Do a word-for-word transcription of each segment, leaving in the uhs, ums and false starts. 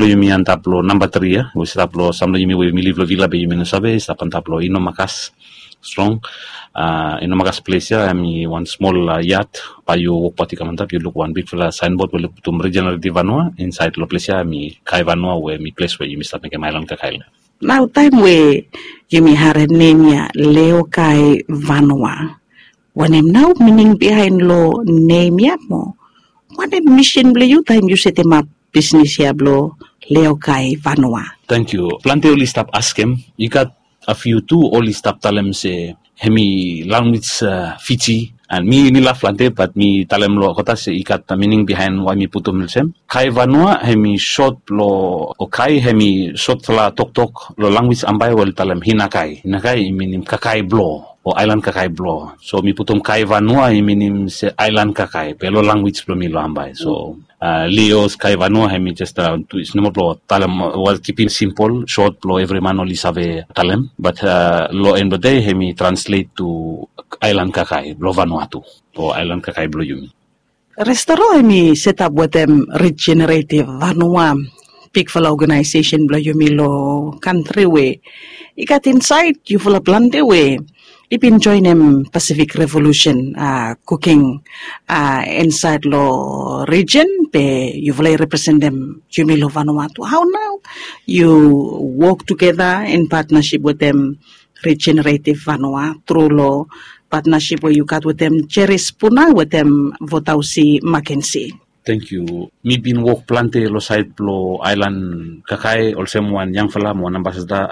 Yumi antap long namba tri ya we i stap long sam long yumi we yumi liv long vila be yumi no save i stap antap long inomakas strong. Inomakas ples ya em i wan smol yat. Bai yu wokbaot i kam antap yu luk wan bikfala saenbod we lukim regenerative vanua insait long ples ya em i kai vanua we em i ples we yumi stap mekim ailan kakaila. Nao taem we yumi harem nem ya leokai vanua, wanem nao mining bihaen long nem ya mo wanem misin blong yu taem yu setemap bisnis ya blong leokai vanua? Tangkiu. Plante oli stap askem i gat a fiu tu oli stap talem se hem i lanwis fiji. An mi mi laf plante bat mi talem long kota se i gat mining bihaen wae mi putum olsem kai vanua hem i sot blong o kai hem i sotfala toktok long lanwis ambae we oli talem hinakai hinakai i minim kakai blo o aelan kakai blo. So mi putum kai vanua i minim se aelan kakai be long lanwis blong mi long ambae so lios kai vanua hem i jes twis nomo blong talem wal kipim simpol sot blong evri man oli save talem bat long en blong dei hem i translet tu aelan kakai blong vanua tu o aelan kakai blong yumi. Restoro hem i setap wetem regenerative vanua, bikfala oganaesesen blong yumi long kantri we i gat insaed yufala plante we i bin joenem pasifik revolusen kuking insaed long rijen be yufala i representem yumi long vanua tu hao nao yu wok tugeta in patnasip wetem regenerative vanua tru long patnasip we yu gat wetem jeris puna wetem votausi makensi. Tangkiu. Mi bin wok plante long saed blong aelan kakae olsem wan yangfala mo wan ambasada.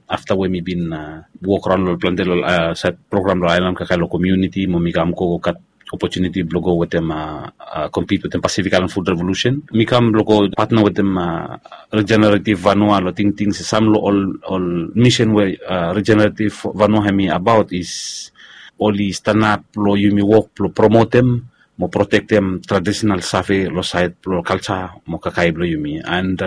Afta we mi bin wok raon long plante long saed program long aelan kakae long komiuniti mo mi kam go gat opotuniti blong go wetem kompit wetem pasifik aelan fud revolusen mi kam blong go patna wetem regenerative vanua long tingting se sam long ol misen we regenerative vanua hem i abaot is oli stanap long yumi wok blong promotem mo protektem tradisenal save long saed blong kalsa mo kakae blong yumi and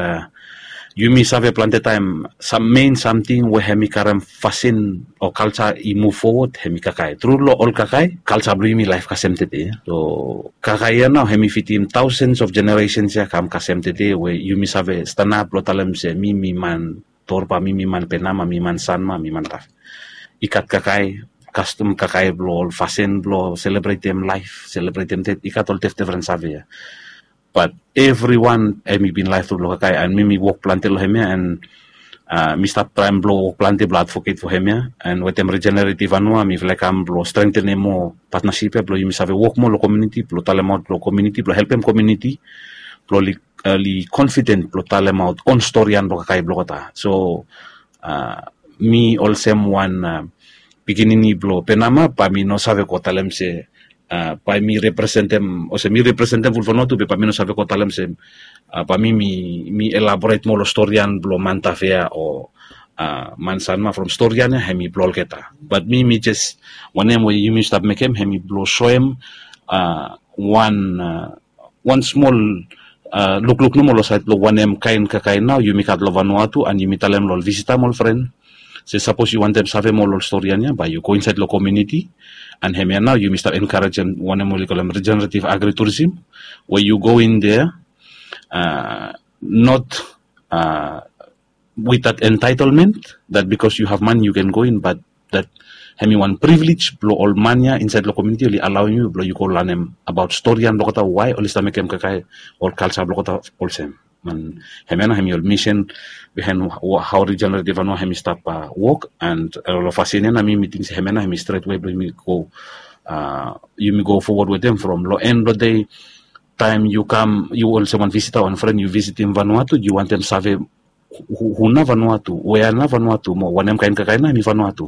yumi save plante taem sam mein samting we hem i karem fasin o kalsa i muv fowod hem i kakae tru long ol kakae kalsa blong yumi laef kasem tede. So kakae ya nao hem i fitim taosens of jeneresens ya kam kasem tede we yumi save stanap blong talem se mi mi man torba mi mi man penama mi man sanma mi man tafe. I gat kakae kastom kakae blong ol fasin blong selebretem laef selebretem ded i gat ol defdefren save ya. Bat evriwan hem i bin laef tu blong kakae an mi mi wok plante long hem ya an mi stap traem blong wok plante blong advoket fo hem ya an wetem regenerative anua mifala i kam blong strengtenem moa patnasip ya blong yumi save wok moa long komiuniti blong talemaot long komiuniti blong helpem komiuniti blong oli konfiden blong talemaot on storian blong kakae blong olgeta. So mi olsem wan pikinini blong penama bae mi no save go talem se bae mi representem olsem mi representem fulfano tu be bae mi no save go talem se bae mi mi elaboret moa long storian blong mantafea o mansanma from storian ya hem i blong olgeta bat mi mi jes wanem we yumi stap mekem hem i blong soem wan wan smol lukluk nomo long saed blong wanem kaen kakae nao yumi gat long vanua tu an yumi talem long ol visita mo ol fren se sapos yu wantem save moa long ol storian ya bae yu go insaed long komiuniti an hemia nao yumi stap enkarejem wanem oli kolem regenerative agriturisim we yu go in dea not with that entaitelment that bikos yu hav mani yu ken go in bat that hem i wan privilej blong ol man ya insaed long komiuniti oli alaoem yu blong yu go lanem abaot storian blong olgeta wae oli stap mekem kakae ol kalsa blong olgeta olsem. Hemia nao hem i ol misen bihaen hao regenerative anua hem i stap wok an long fasin ya nao mi mi ting se hemia nao hem i stret we blong yumi go yumi go fowod wetem from long en blong dei taem yu kam yu olsem wan visita wan fren yu visitim vanua tu yu wantem save hu nao vanua tu wea nao vanua tu mo wanem kaen kakae nao hem i vanua tu.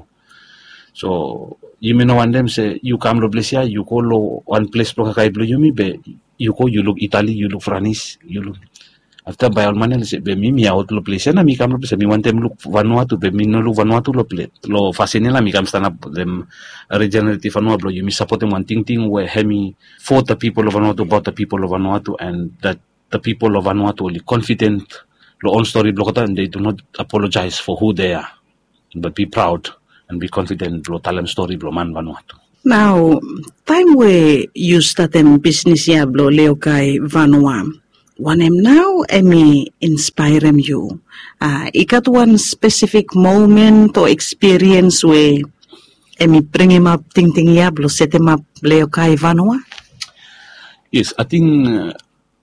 So yumi no wantem se yu kam long ples ya yu go long wan ples blong kakae blong yumi be yu go yu luk itali yu luk franis yu luk afta bae ol man ya oli se be mi mi aot long ples ya nao mi kam long ples ya mi wantem luk vanua tu be mi no luk vanua tu long ples long fasin ya nao mi kam stanap wetem regenerative vanua blong yumi sapotem wan tingting we hem i for the people of vanua tu about the people of vanua tu and that the people of vanua tu oli confident long on stori blong olgeta and they do not apologize for who they are but be proud and be confident blong talem stori blong man vanua tu. Nao taem we yu statem bisnis ya blong leokai vanua Wanem nau em i inspaerem yu? I gat wan spesifik momen o ekspiriens we em i bringimap tingting ya blong setemap leokai vanua? Yes, ating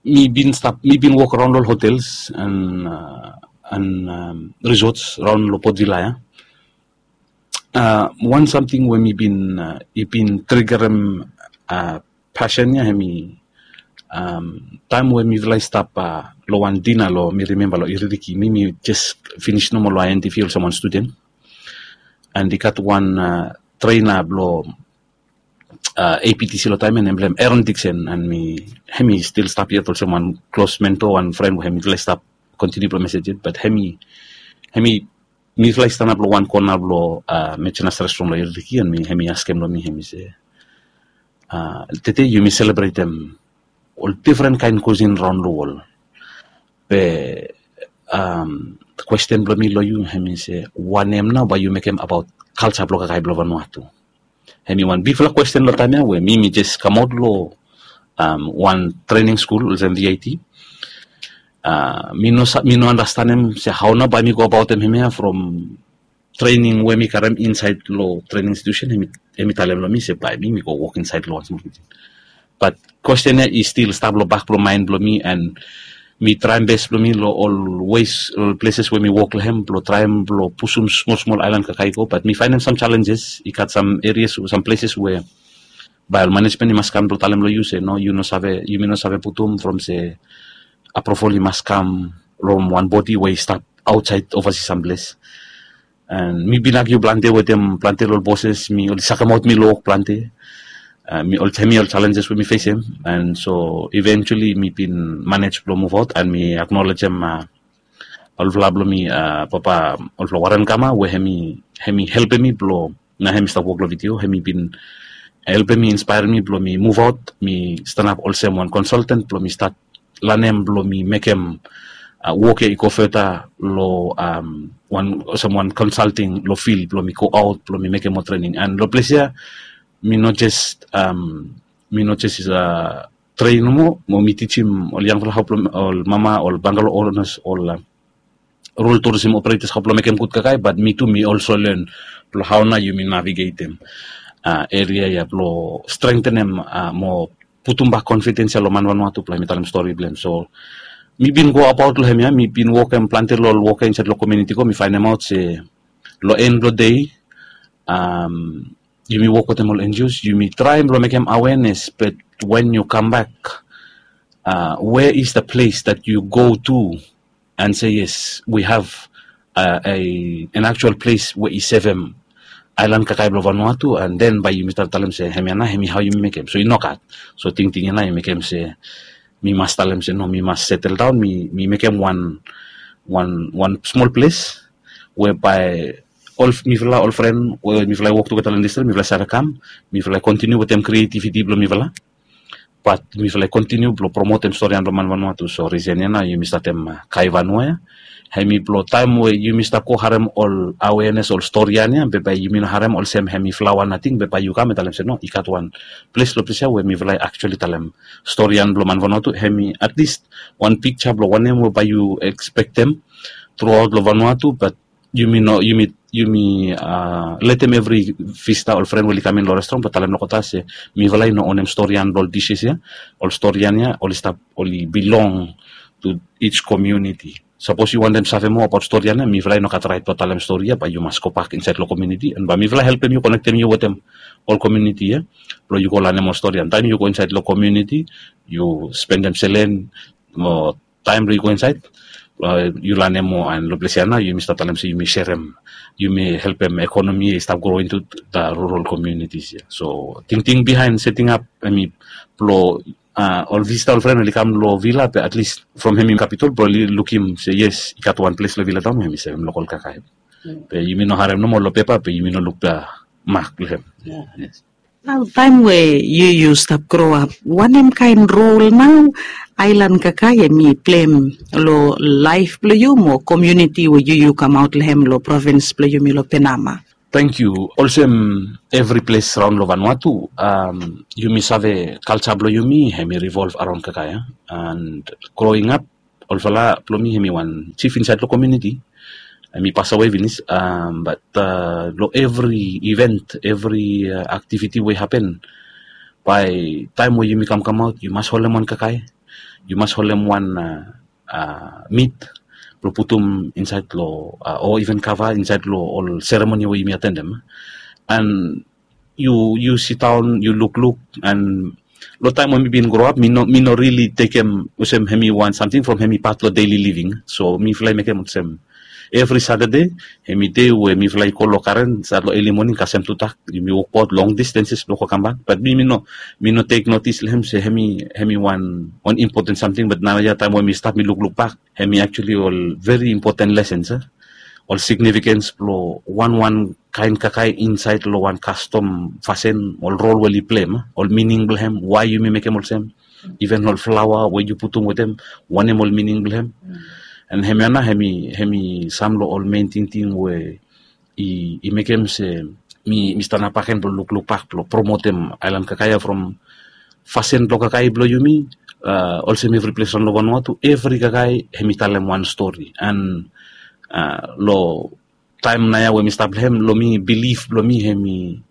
mi bin stap mi bin wok raon long hotels an an resorts raon long Port Vila ya. Wan samting we mi bin i bin trigerem pasen ya, hemi taem we mifala i stap long wan dina long, mi rimemba, long Iririki. Mi mi jes finis nomo long INTV olsem wan studen, an i gat wan trena blong APTC long taem ya, nem blong hem Aaron Dixon, an mi hemi stil stap yet olsem wan klos mentor, wan fren we hemi stil stap kontiniu blong mesej yet. Bat hemi hemi mifala i stanap long wan kona blong Mechenas Restaurant long Iririki, an mi hemi askem long mi, hemi se, "Tede yumi selebretem ol difren kaen kusin raon long wol. Be kwesten blong mi long yu hemi se, wanem nao bae yu mekem abaot kalja blong kakae blong Vanuatu?" Hemi wan bigfala kwesten long taem ya we mi mi jes kamaot long wan trening skul olsem VIT. Mi no andastanem se hao nao bae mi go abaotem hemia from trening we mi karem insaed long trening institusen. Hemi talem long mi se bae mi mi go wok insaed long wan smol kijen. Bat kwesten ya i stil stap long bak blong maen blong mi, an mi traem bes blong mi long ol wes, ol pleses we mi wok long hem blong traem blong pusum smol smol aelan kakae i go. Bat mi faenem sam jalenjes, i gat sam erias, sam pleses we bae ol manejmen i mas kam blong talem long yu se no, yu no save, yumi no save putum from se apruval i mas kam from wan bodi we i stap aotsaed ovasi sam ples. An mi bin agiu plante wetem plante long ol boses, mi oli sakemaot mi long wok plante. Mi ol, hemi ol jalenjes we mi fesem. An so eventuali mi bin manej blong muvaot, an mi aknolejem olfala blong mi, papa, olfala Warren Gama, we hemi hemi helpem mi blong, nao hemi stap wok long vidio, hemi bin helpem mi, inspaerem mi blong mi muvaot, mi stanap olsem wan konsalten blong mi stat lanem blong mi mekem wok ya i go feta long wan, olsem wan konsalting long fil blong mi go aot blong mi mekem ol trening. An long ples ya mi no jes mi no jes tren nomo, mo mi tijim ol yangfala hao blong ol mama, ol bangalo onas, ol rul turisim operetas hao blong mekem gud kakae, bat mi tu mi olso len blong hao nao yumi navigetem eria ya blong strengtenem mo putum bak konfidens ya long man Vanuatu blong hemi talem stori blong hem. So mi bin go abaot long hemia, mi bin wokem plante long ol wok ya insaed long komuniti, go mi faenemaot se long en blong dei yumi wok wetem ol NGOs, yumi traem blong mekem awenes, bat wen yu kambak, where is the place that you go to and say, yes, we have an actual place we i sevem aelan kakae blong Vanuatu, an den bae yumi stap talem se hemia nao hemi hao yumi mekem. So i nogat. So tingting ya nao i mekem se mi mas talem se no, mi mas setel daon, mi mekem wan wan wan smol ples we bae ol, mifala ol fren we mifala i wok tugeta long distrik, mifala i save kam, mifala i kontiniu wetem krietiviti blong mifala, bat mifala i kontiniu blong promotem storian blong man Vanuatu. So risen ya nao yumi statem Kai Vanua ya. Hemi blong taem we yumi stap go harem ol awenes, ol storian ya, be bae yumi no harem olsem hemi flaoa nating, be bae yu kam and talem se no, i gat wan ples long ples ya we mifala i aktuali talem storian blong man Vanuatu. Hemi atlis wan pikja blong wanem we bae yu ekspektem truaot long Vanuatu, bat yumi no, yumi yumi letem evri visita, ol fren we oli kam in long restoran, blong talem long olgeta se mifala i no onem storian blong ol dises ya. Ol storian ya oli stap, oli bilong to each community. Sapos yu wantem save moa abaot storian ya, mifala i no gat raet blong talem stori ya, bae yu mas gobak insaed long komuniti, and bae mifala helpem yu, konektem yu wetem ol komuniti ya, blong yu go lanem ol storian. Taem yu go insaed long komuniti, yu spendem selen mo taem blong yu go insaed, yu lanem moa, and long ples ya nao yumi stap talem se yumi serem, yumi helpem ekonomi ya i stap gro into the rural communities ya. So tingting bihaen setingap hemi blong ol visita, ol fren oli kam long vila, be atlis from hemi kapitol blong oli lukim se yes, i gat wan ples long Vila Taon we hemi sevem lokol kakae. Be yumi no harem nomo long pepa, be yumi no luk the mak blong hem. Nao taem we yu yu stap groap, wanem kaen rol nao aelan kakae hemi pleim long laef blong yu mo komuniti we yu yu kamaot long hem long provins blong yumi long Penama? Tangkiu. Olsem evri ples raon long Vanuatu, yumi save kalja blong yumi hemi revolv araon kakae. And growing ap, olfala blong mi hemi wan jif insaed long komiuniti. Hemi pasawe finis, bat long evri event, evri aktiviti we i hapen, bae taem we yumi kamkamaot yu mas holem wan kakae, yu mas holem wan mit blong putum insaed long, o iven kava insaed long ol seremoni we yumi atendem. And yu yu sidaon yu lukluk. And long taem we mi bin groap mi no mi no rili tekem olsem hemi wan samting from hemi pat long deli living. So mifala i mekem olsem evri Satade hemi dei we mifala i go long karen stat long eli moning kasem tudak, yumi wokbaot long distenses blong go kambak. Bat mi mi no mi no tek notis long hem se hemi hemi wan wan impoten samting. Bat naoia taem we mi stap mi lukluk bak, hemi aktuali ol veri impoten lesens, ol signifikens blong wanwan kaen kakae insaed long wan kastom fasin, ol rol we oli pleim, ol mining blong hem, wae yumi mekem olsem, iven ol flaoa we yu putum wetem, wanem ol mining blong hem. And hemia nao hemi hemi sam long ol mein tingting we i i mekem se mi mi stanap agen blong lukluk bak blong promotem aelan kakae ya from fasin blong kakae blong yumi. Olsem evri ples raon long Vanuatu, evri kakae hemi talem wan stori. And long taem naoia we mi stap long hem, long mi bilif blong mi hemi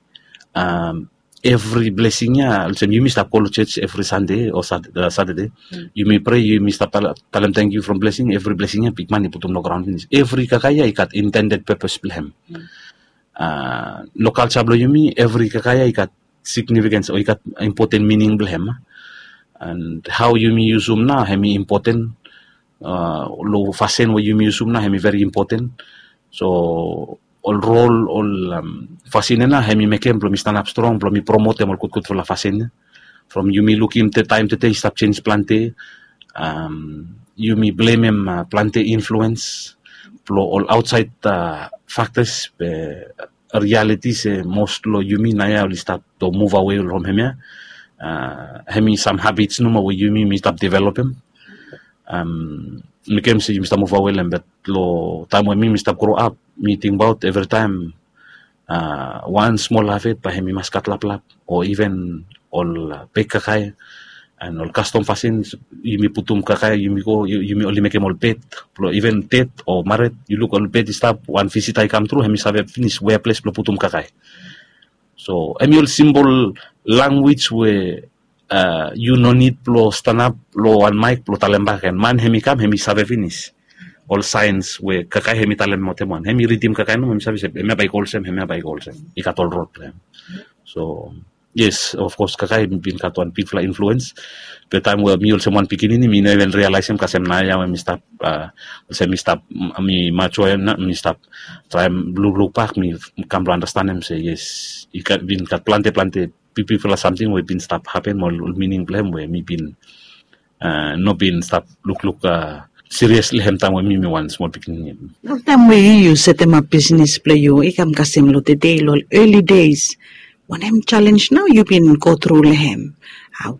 evri blesing ya, olsem yumi stap go long jos evri Sande o Satade, yumi prea, yumi stap talem tangkiu from blesing, evri blesing ya bigman i putum long graon finis. Evri kakae ya i gat intended pepes blong hem. Long kalja blong yumi evri kakae ya i gat signifikens o i gat impoten mining blong hem. And hao yumi yusum nao hemi impoten, long fasin we yumi yusum nao hemi veri impoten. So ol rol, ol fasin ya nao hemi mekem blong mi stanap strong blong mi promotem ol gudgudfala fasin ya. From yumi lukim taem tede i stap jenj plante, yumi blemem plante influens blong ol aotsaed faktas be rialiti se mos long yumi naoia oli stat to muv awe from hemia. Hemi sam habits nomo we yumi mi stap developem. Mekem se yumi stap muv awe long hem. Bat long taem we mi mi stap groap, mi tingbaot evritaem wan smol hafet bae hemi mas gat laplap o iven ol bek kakae. And ol kastom fasin, yumi putum kakae, yumi go, yumi oli mekem ol bed blong iven ded o mared. Yu luk ol bed i stap, wan visita i kamtru, hemi save finis wea ples blong putum kakae. So hemi ol simbol lanwis we yu no nid blong stanap long wan maek blong talem bakegen. Man hemi kam hemi save finis ol saens we kakae hemi talem motem wan. Hemi ridim kakae nomo, hemi save se hemia bae i go olsem, hemia bae i go olsem. I gat ol rod blong hem. So yes, of kos kakae hemi bin gat wan bigfala influens. Be taem we mi olsem wan pikinini mi no iven rialaesem kasem naoia we mi stap, olsem mi stap, mi matua ya nao, mi stap traem lukluk bak, mi kam blong anastenem se yes, i bin gat plante plante bigbigfala samting we bin stap hapen mo ol mining blong hem we mi bin no bin stap lukluk sirios long hem taem we mi mi wan smol pikinini. Long taem we yu yu setemap bisnis blong yu i kam kasem long tede, long ol eli deis, wanem jalenj nao yu bin gotru long hem?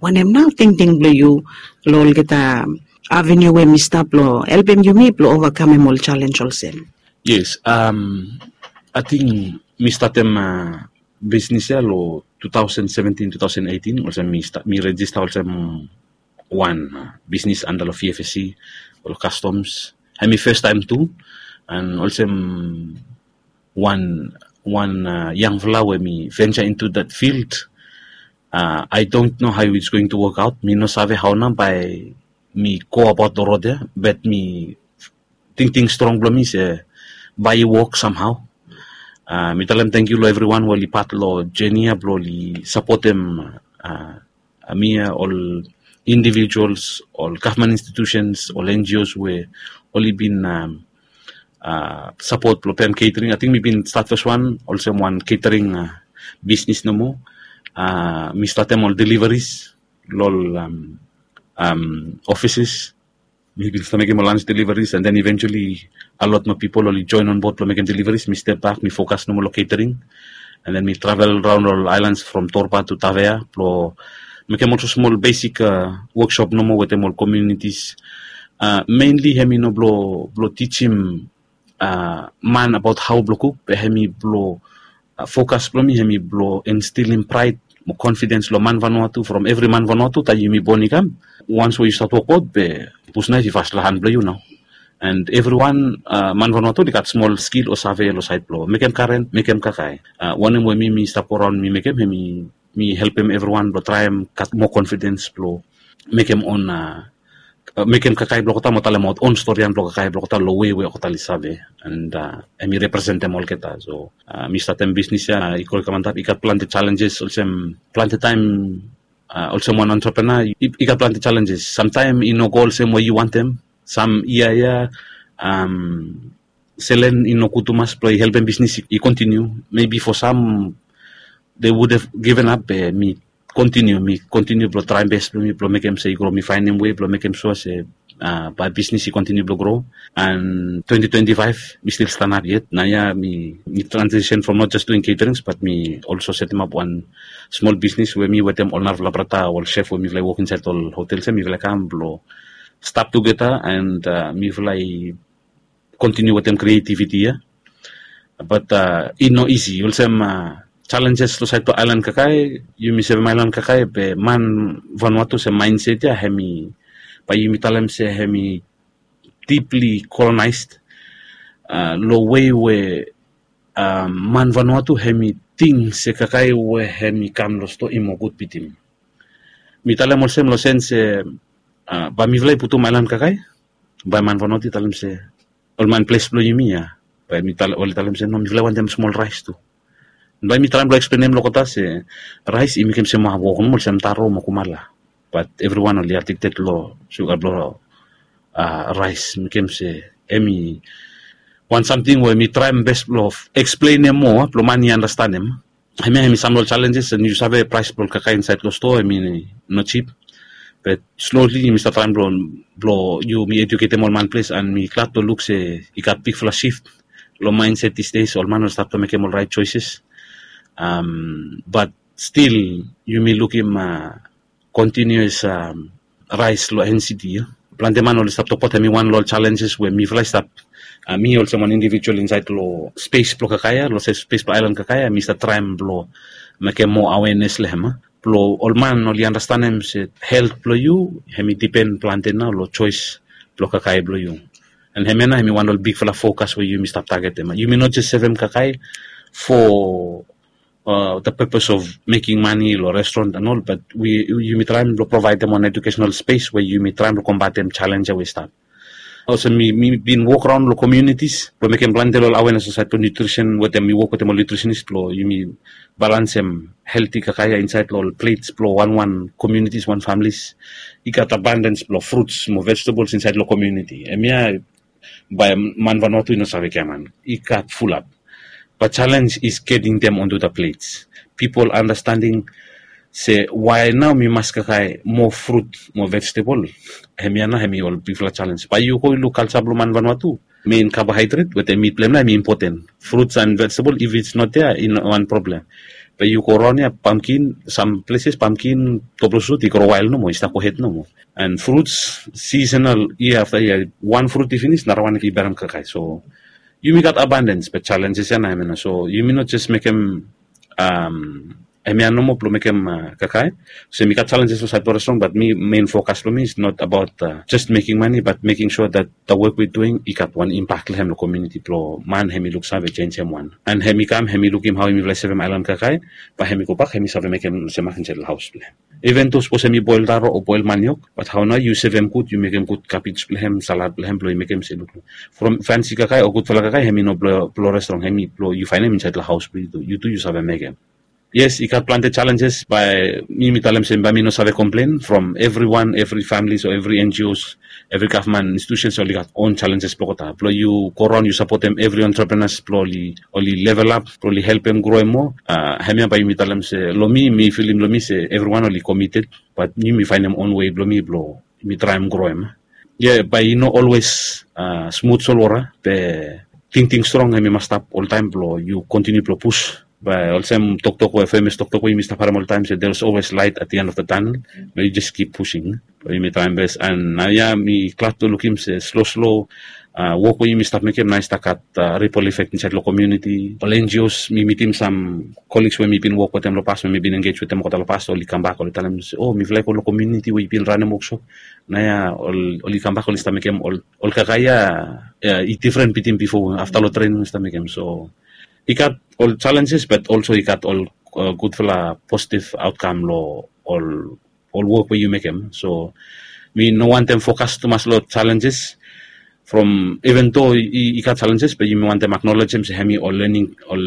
Wanem nao tingting blong yu long olgeta aveniu we mi stap blong helpem yumi blong ovakamem ol jalenj olsem? Yes, ating mi statem bisnis ya long two thousand seventeen, two thousand eighteen, olsem mi stap, mi rejista olsem wan bisnis anda long V F S C o long Customs. Hemi fes taem tu, and olsem wan wan yangfala we mi venture into that field. I don't know how it's going to work out. Mi no save hao nao bae mi go abaot long rod ya, bat mi tingting strong blong mi se bae i wok samhao. Mi talem tangkiu long evriwan we oli pat long jeni ya blong oli sapotem mi ya, ol indivijuals, ol gavman institusens, ol N G Os we oli bin sapot blong pem catering. Ating mi bin stat feswan olsem wan catering bisnis nomo. Mi statem ol deliveries long ol ofises. Mi bin stap mekem ol lunch deliveries, and then eventually a lot more people oli join on board blong mekem deliveries. Mi step bak, mi fokas nomo long catering, and then mi travel raon ol islands from Torba to Tavea blong mekem olsem smol basic workshop nomo wetem ol communities. Mainly hemi no blong blong tijim man abaot hao blong kuk, be hemi blong Fokas blong mi hemi blong instilim praed mo confidence long man Vanuatu from evri man Vanuatu taem yumi bon i kam. Wans we yu stat wokbaot be pusnaef i fas long han blong yu nao. And evriwan, man Vanuatu oli gat smol skil o save long saed blong mekem karen, mekem kakae. Wanem we mi mi stap go raon mi mekem hemi mi helpem evriwan blong traem gat moa confidence blong mekem on mekem kakae blong olgeta mo talemaot on storian blong kakae blong olgeta long wei we olgeta oli save. And hemi representem olgeta. So mi statem bisnis ya i go i kam antap, i gat plante challenges olsem plante taem olsem wan entrepreneur i gat plante challenges. Samtaem i no go olsem we yu wantem. Sam yia ya selen i no gud tumas blong i helpem bisnis i kontiniu. Maybe for sam they would have given up, be mi kontiniu mi kontiniu blong traem bes blong mi blong mekem se i gro, mi faenem wei blong mekem sua se bae bisnis i kontiniu blong gro. And twenty twenty-five mi stil stanap yet. Naoia mi mi transition from not just doing caterings, but mi also setemap wan smol bisnis we mi wetem ol narafala brata ol chef we mifala i wok insaed ol hotels ya mifala i kam blong stap tugeta and mifala i kontiniu wetem creativity ya. Bat i no isi olsem challenges long saed blong aelan kakae. Yumi sevem aelan kakae be man Vanuatu se mindset ya hemi, bae yumi talem se hemi deeply colonized long wei we man Vanuatu hemi ting se kakae we hemi kam long stoa i moa gud bitim. Mi talem olsem long sen se bae mifala i putum aelan kakae, bae man Vanuatu i talem se ol man ples blong yumi ya, bae oli talem se no, mifala i wantem smol raes tu. Bae mi traem blong eksplenem long olgeta se raes i mekem se moa wok nomo olsem taro mo kumala. Bat evriwan oli addicted long suga blong raes, mekem se hemi wan samting we mi traem bes blong eksplenem moa blong man i anastanem. Hemia hemi sam long ol challenges and yu save praes blong ol kakae insaed long stoa hemi no jip. Be slowly yumi stap traem blong yumi eduketem ol man ples and mi glad blong luk se i gat bigfala shift long mindset these days. Ol man oli stap blong mekem ol raet choices. Bat stil yumi lukim continuous raes long NCD ya. Plante man oli stap tokbaot hemi wan long ol challenges we mifala i stap, mi olsem wan individual insaed long spes blong kakae ya, long spes blong aelan kakae ya, mi stap traem blong mekem moa awenes long hem blong ol man oli anastanem se helt blong yu hemi dipen plante nao long joes blong kakae blong yu. And hemia nao hemi wan long ol bigfala fokas we yumi stap tagetem. Yumi no jes sevem kakae for the purpose of meking mane long restoran and ol, bat yumi traem blong provaedem wan edukesenal spes we yumi traem blong kombatem jalens ya we i stap. Olsem mi bin wok raon long komiunitis blong mekem plante long ol awenes long saed blong nutrisen wetem mi wok wetem ol nutrisenis blong yumi balansem helti kakae ya insaed long ol plets blong wanwan komiunitis, wan familis. I gat abandens blong fruts mo vejetables insaed long komiuniti. Hemia bae man Vanuatu i no save giaman, i gat fulap. Bat jalens is geting dem onto the plets. Pipol anastanem se wae nao mi mas kakae moa frut mo vejetebol. Hemia nao hemi ol bigfala jalens. Bae yu go yu luk kalja blong man Vanuatu, mein kabohaedret wetem mit blong hem nao hemi impoten. Fruts and vejetebol, if it's not there i no wan problem. Bae yu go raon ya pamkin, sam pleses pamkin, toblosut i gro wael nomo, i stap go hed nomo. And fruits, sisenal, yia afta yia, wan frut i finis narawan i berem kakae. So yumi gat abandens be jalenjes ya nao hemia nao. So yumi no jes mekem hemia nomo blong mekem kakae. So yumi gat jalenjes long saed blong restoran, bat mi mein fokas blong mi is not abaot jes meking mane, bat meking sua dat the work we doing i gat wan impak long hem long komiuniti blong man hemi luksave jenjem wan. And hemi kam hemi lukim hao yumifala i sevem aelan kakae, bae hemi gobak hemi save mekem olsem mak insaed long haos blong hem. Even do sapos hemi boel taro o boel maniok, bat hao nao yu sevem gud, yu mekem gud kabej blong hem, salad blong hem blong i mekem se luk from fansi kakae o gudfala kakae hemi no blong restoran, hemi blong yu faenem insaed long haos blong yu tu, yu tu yu save mekem. Yes, i gat plante jalenjes, bae mi mi talem se bae mi no save komplen from evriwan, evri familis o evri NGOs, evri gavman institusens oli gat on jalenjes blong olgeta. Blong yu go raon yu sapotem evri entrepreneurs blong oli level ap, blong oli helpem groem moa. Hemia bae yumi talem se long mi mi filim long mi se evriwan oli komited, bat mi mi faenem on wei blong mi blong mi traem groem. Yia, bae i no olwes smut solwota, be tingting strong hemi mas stap oltaem blong yu kontiniu blong pus. Bae olsem toktok we femes toktok we yumi stap harem oltaem se there is always light at the end of the tunnel. Blong yu jes kip pusing blong yumi traem bes. And naoia mi glad blong lukim se sloslo Wok we yumi stap mekem nao i stap gat ripol efek insaed long komiuniti. Ol enjios, mi mitim sam koliks we mi bin wok wetem long pas, we mi bin engej wetem olgeta long pas, oli kambak oli talem se, o, mifala i go long komiuniti we i bin ranem woksop. Naoia oli kambak oli stap mekem ol kakae ya i difren bitim bifo, afta long trening oli stap mekem. So i gat ol jalenjes, bat olso i gat ol gudfala positiv aotkam long ol ol wok we yu mekem. So mi no wantem fokas tumas long jalenjes. From even do i gat jalenjes, be yumi wantem aknolejem se hemi ol lening, ol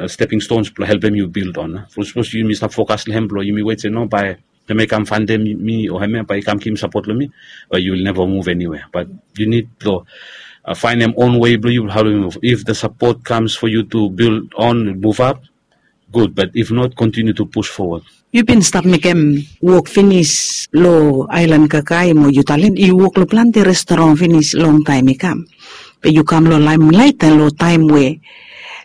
steping stons blong helpem yu bild on. From sapos yumi stap fokas long hem blong yumi wet se no, bae hemi kam fandem mi, o hemia bae i kam givim sapot long mi, bae yu will neva muv eniwea. Bat yu nid blong faenem on wei blong yu blong hao long yu muv. If the support comes for you to build on, move up, gud, bat if not, continue to push forward. Yu bin stap mekem wok finis long aelan kakae mo yu talem yu wok long plante restoran finis long taem i kam. Be yu kam long laemlaet long taem we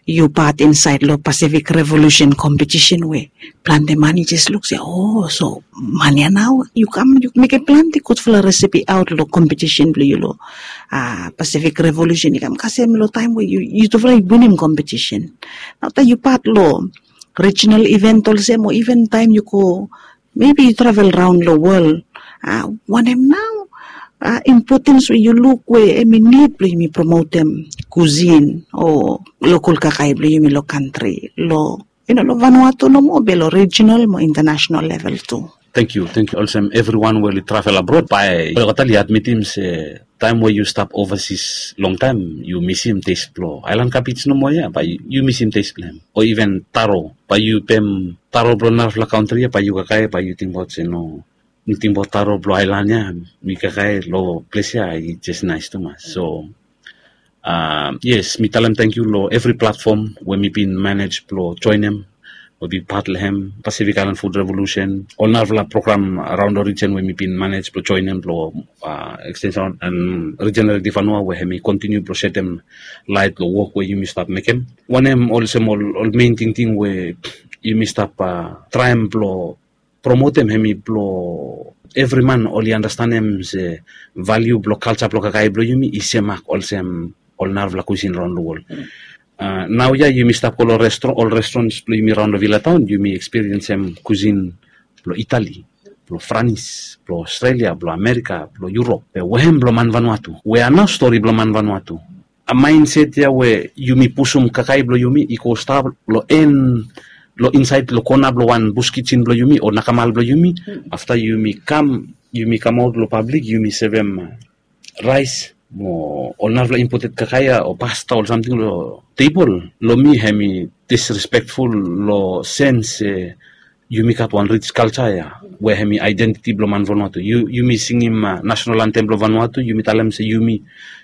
yu pat insaed long Pacific Revolution kompetisen we plante man i jes luk se, o, so man ya nao yu kam yu mekem plante gudfala resepi aot long kompetisen blong yu long Pacific Revolution i kam kasem long taem we yutufala i winim kompetisen. Nao taem yu pat long rijinal iven olsem, o iven taem yu go, mebi yu travel raon long wol, wanem nao impotens we yu luk we hemi nid blong yumi promotem kusin o lokol kakae blong yumi long kantri, long yu no long Vanuatu nomo be long rijinal mo intanasenal level tu? Tangkiu, tangkiu. Olsem evriwan we oli travel abrod, bae olgeta oli admitim se taem we yu stap ovasis longtaem yu misim tes blong aelan kabej nomo ya, bae yu misim tes blong hem. O iven taro, bae yu pem taro blong narafala kantri ya, bae yu kakae, bae yu tingbaot se no, mi tingbaot taro blong aelan ya, mi kakae long ples ya i jes naes tumas. So yes, mi talem tangkiu long evri platfom we mi bin manej blong joenem, we mi pat long hem, Pacific Island Food Revolution, ol narafala program araon long rijen we mi bin manej blong joenem blong ekstensen en rijinal Redi Vanua we hemi kontiniu blong setem laet long wok we yumi stap mekem. Wanem olsem ol mein tingting we yumi stap traem blong promotem hemi blong evri man oli andastanem se valiu blong kalja blong kakae blong yumi i semak olsem ol narafala kusin raon long wol. Naoia yumi stap go long ol restrans blong yumi raon long Vila Taon, yumi ekspiriensem kusin blong Itali, blong Franis, blong Australia, blong Amerika, blong Yurop, be wehem blong man Vanuatu? Wea nao stori blong man Vanuatu? Maenset ya we yumi pusum kakae blong yumi i go stap long en, long insaed long kona blong wan bus kijen blong yumi o nakamal blong yumi. Afta yumi kam, yumi kamaot long pablik, yumi sevem raes mo ol narafala impoted kakae ya o pasta ol samting long tebol. Long mi hemi disrespekful long sens se yumi gat wan rij kalja ya we hemi aedentiti blong man Vanuatu. Yumi singim nasenal antem blong Vanuatu, yumi talem se yumi,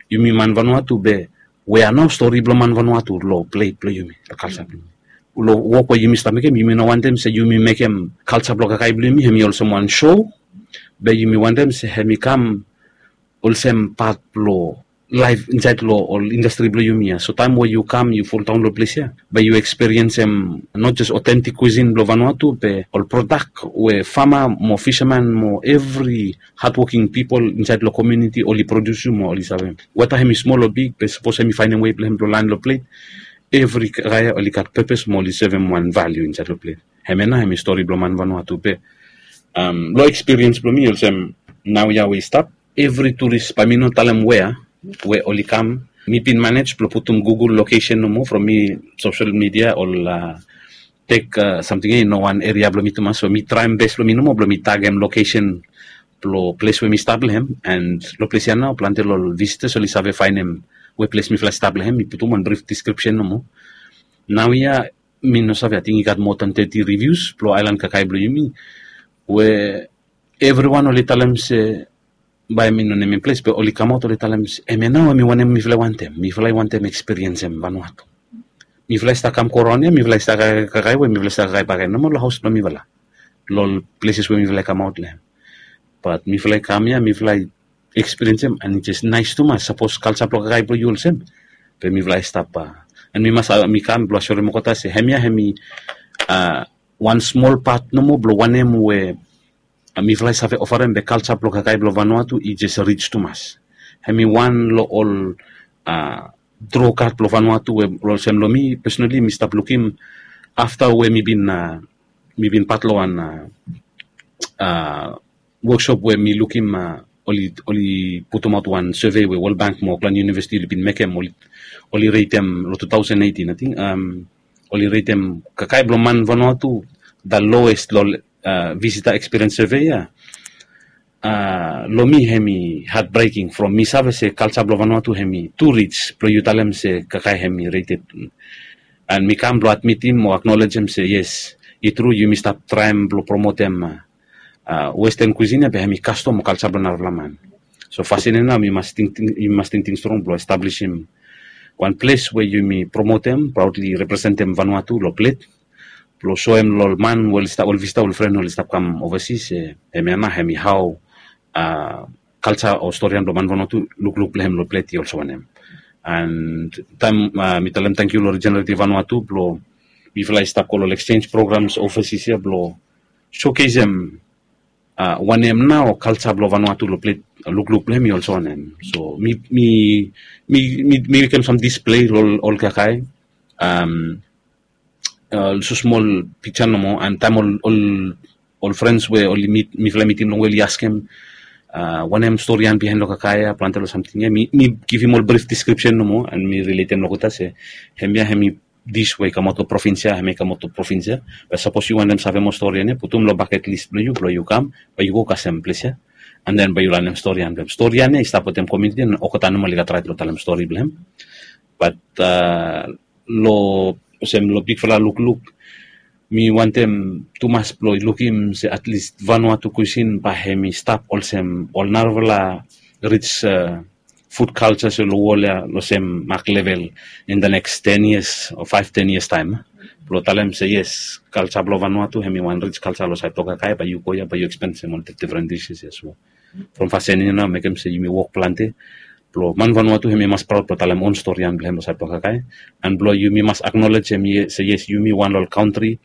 yumi man Vanuatu, be wea nao stori blong man Vanuatu long pleit blong yumi, long kalja blong yumi? Long wok we yumi stap mekem, yumi no wantem se yumi mekem kalja blong kakae blong yumi hemi olsem wan so, be yumi wantem se hemi kam olsem pat blong laef insaed long ol indastri blong yumi ya. So taem we yu kam yu fuldaon long ples ya, be yu ekspiriensem not jes otentik kusin blong Vanuatu, be ol prodak we fama mo fisaman mo evri hadwoking pipol insaed long komiuniti oli produsim mo oli savem. Weta hemi smol o big, be sapos hemi faenem wei blong hem blong laen long pleit, evri kakae ya oli gat pepes mo oli sevem wan valiu insaed long pleit. Hemia nao hemi stori blong man Vanuatu. Be long ekspiriens blong mi olsem, naoia we i stap, evri turis, bae mi no talem wea, we oli kam, mi bin manej blong putum Google lokesen nomo from mi sosel midia, ol tek samting ya i no wan eria blong mi tumas, so mi traem bes blong mi nomo blong mi tagem lokesen blong ples we mi stap long hem. And long ples ya nao plante long ol visitas oli save faenem we ples mifala i stap long hem. Mi putum wan brif deskripsen nomo. Naoia mi no save, ating i gat moa dan teti rivius blong aelan kakae blong yumi, we evriwan oli talem se, bae mi no nemem ples, be oli kamaot oli talem se hemia nao hemi wanem mifala i wantem. Mifala i wantem ekspiriensem Vanuatu. Mifala i stap kam go raon ya, mifala i stap kakae, kakae we mifala i stap kakae bakegen nomo long haos blong mifala, long ol pleses we mifala i kamaot long hem. Bat mifala i kam ya, mifala i ekspiriensem, and i jes naes tumas. Sapos kalja blong kakae blong yu olsem, be mifala i stap, and mi mas, mi kam blong asyorem olgeta se hemia hemi wan smol pat nomo blong wanem we mifala i save ofarem, be kalja blong kakae blong Vanuatu i jes rij tumas. Hemi wan long ol a, dro kad blong Vanuatu we olsem long mi pesonali mi stap lukim afta we mi bin a, mi bin pat long wan a, a, woksop we mi lukim a, oli oli putumaot wan survey we World Bank mo Auckland University oli bin mekem, oli oli reitem long two thousand eighteen ating, a, oli reitem kakae blong man Vanuatu the lowest long a, visitor experience survey ia. A, long mi hemi heartbreaking from mi save se kalsa blong Vanuatu hemi tu rij blong yu talem se kakae hemi rated. An mi kam blong admitim o aknolejem se yes, i tru yumi stap traem blong promotem a, a, Western cuisine ia be hemi kastom o kalsa blong narafala man. So fasin ia nao mi mas tingting, yumi mas tingting strong blong establisim wan ples we yumi promotem, praudli representem Vanuatu long plet blong soem long ol man we oli stap, ol visita, ol fren oli stap kam ovasi se hemia nao hemi hao a, kalsa o storian blong man Vanuatu, lukluk blong hem long plet i olsem wanem. An taem a, mi talem tangkiu long Regenerative Vanuatu blong mifala i stap go long exchange programs overseas ia blong showcasem a, wanem nao kalsa blong Vanuatu long plet, lukluk blong hem i olsem wanem. So mi mi mi mi mekem sam display long ol kakae, a, ol smol piksa nomo, an taem ol ol ol frens we oli mit, mifala i mitim longwe oli askem a, wanem storian bihaen long kakae ia, plante long samting ia, mi mi givim ol brif deskripsen nomo an mi riletem long olgeta se hemia hemi dis we i kamaot long provins ia, hemi kamaot long provins ia. Be sapos yu wantem save moa storian ia, putum long baket lis blong yu blong yu kam, bae yu go kasem ples ia. An den bae yu lanem storian blong hem. Storian ia i stap wetem komuniti an olgeta nomo oli gat raet blong talem stori blong hem. Bat a, long olsem long bigfala lukluk, mi wantem tumas blong lukim se atlis Vanuatu cuisine bae hemi stap olsem ol narafala rij a, fud kalsa se long wol ia long sem mak level in the next ten years o five ten years taem. Blong talem se yes, kalsa blong Vanuatu hemi wan rij kalsa long saed blong kakae, bae yu go ia bae yu ekspensem ol difdifren dises ia. So from fasin ia nao mekem se yumi wok plante blong man Vanuatu hemi mas praod blong talem on storian blong hem long saed blong kakae. An blong yumi mas aknolejem se yes, yumi wan long ol kantri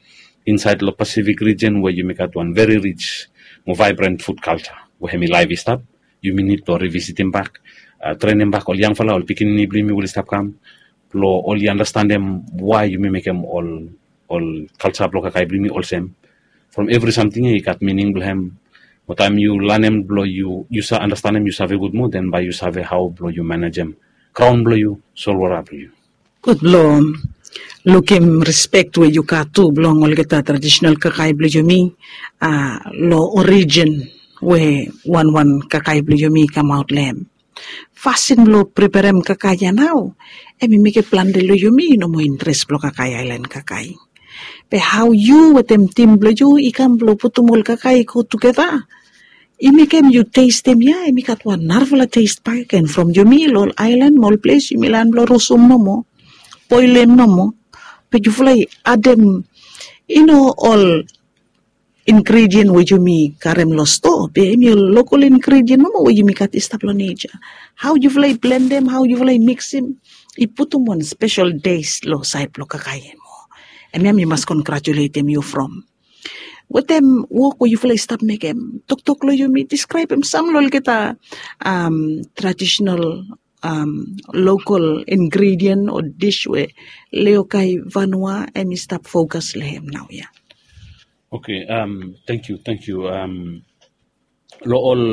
insaed long Pacific region we yumi gat wan veri rij mo vaebren fud kalsa we hemi laef i stap. Yumi nid blong rivisitim bak, a, trenem bak ol yangfala, ol pikinini blong yumi we oli stap kam blong oli andastanem wae yumi mekem ol ol kalsa blong kakae blong yumi olsem. From evri samting ia i gat mining blong hem. Mo taem yu lanem blong yu yu save andastanem, yu save gud moa, den bae yu save hao blong yu manejem graon blong yu, solwota blong yu. Gud blong lukim rispek we yu gat tu blong olgeta tradisonal kakae blong yumi, a, long orijin we wanwan kakae blong yumi i kamaot long hem. Fasin blong preperem kakae ia nao hemi mekem plante long yumi i no moa interes blong kakae, aelan kakae. Be hao yu wetem tim blong yu i kam blong putum ol kakae i go tugeta, i mekem yu testem ia hemi gat wan narafala tes bakegen from yumi long ol aelan mo ol ples yumi laen blong rosum nomo, boelem nomo, be yufala i adem i no ol ingredien we yumi karem long stoa, be hemi ol lokol ingredien nomo we yumi gat i stap long neja. Hao yufala i blendem, hao yufala i miksim, i putum wan spesel tes long saed blong kakae ia mo. Hemia mi mas kongratuletem yu from wetem wok we yufala i stap mekem. Toktok long yumi, diskraebem sam long olgeta, a, tradisonal, a, lokol ingredien o dis we Leokai Vanua hemi stap fokas long hem naoia. Oke, a, tangkiu, tangkiu. A, long ol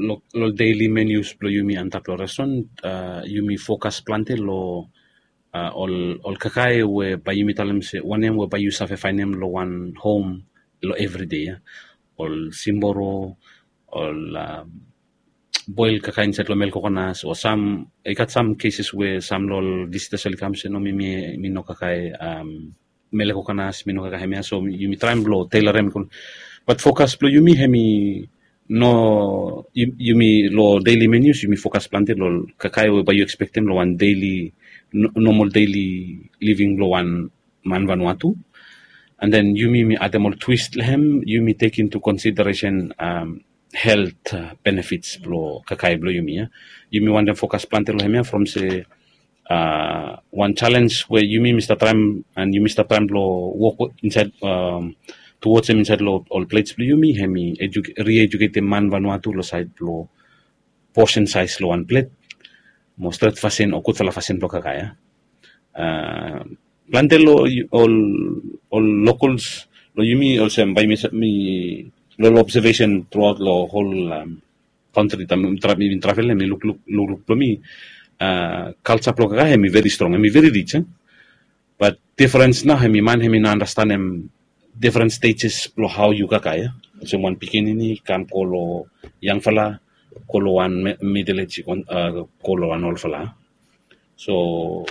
long ol deili menus blong yumi antap long restoran, a, yumi fokas plante long a, ol ol kakae we bae yumi talem se wanem we bae yu save faenem long wan hom long evride ia. Ol simboro, ol a, boel kakae insaed long mel kokonas o sam, i gat sam keses we sam long ol visitas oli kam se no, mi mi mi no kakae, a, mel kokonas, mi no kakae hemia, so yumi traem blong teilorem. Bat fokas blong yumi hemi no, yumi long deili menus yumi fokas plante long kakae we bae yu ekspektem long wan deili, nomal deili living blong wan man Vanuatu. An den yumi mi adem ol twis long hem, yumi tek intu konsideresen, a, helt benefits blong kakae blong yumi ia. Yumi wantem fokas plante long hemia from se a, wan jalenj we yumi mi stap traem an yumi stap traem blong wok insaed, a, tuwojem insaed long ol plets blong yumi hemi riejuketem man Vanuatu long saed blong posen saes long wan plet. mo stret fasin o gudfala fasin blong kakae ya. Plante long ol ol locals long yumi olsem bai mi mi long observation throughout long whole country taem mi travel ya mi lukluk lukluk blong mi. Culture blong kakae hemi very strong, hemi very rich. Bat difference nao hemi man hemi no understanem different stages blong hao yu kakae ya. Olsem wan pikinini kam go long yangfala, go long wan middle age, go long wan olfala. So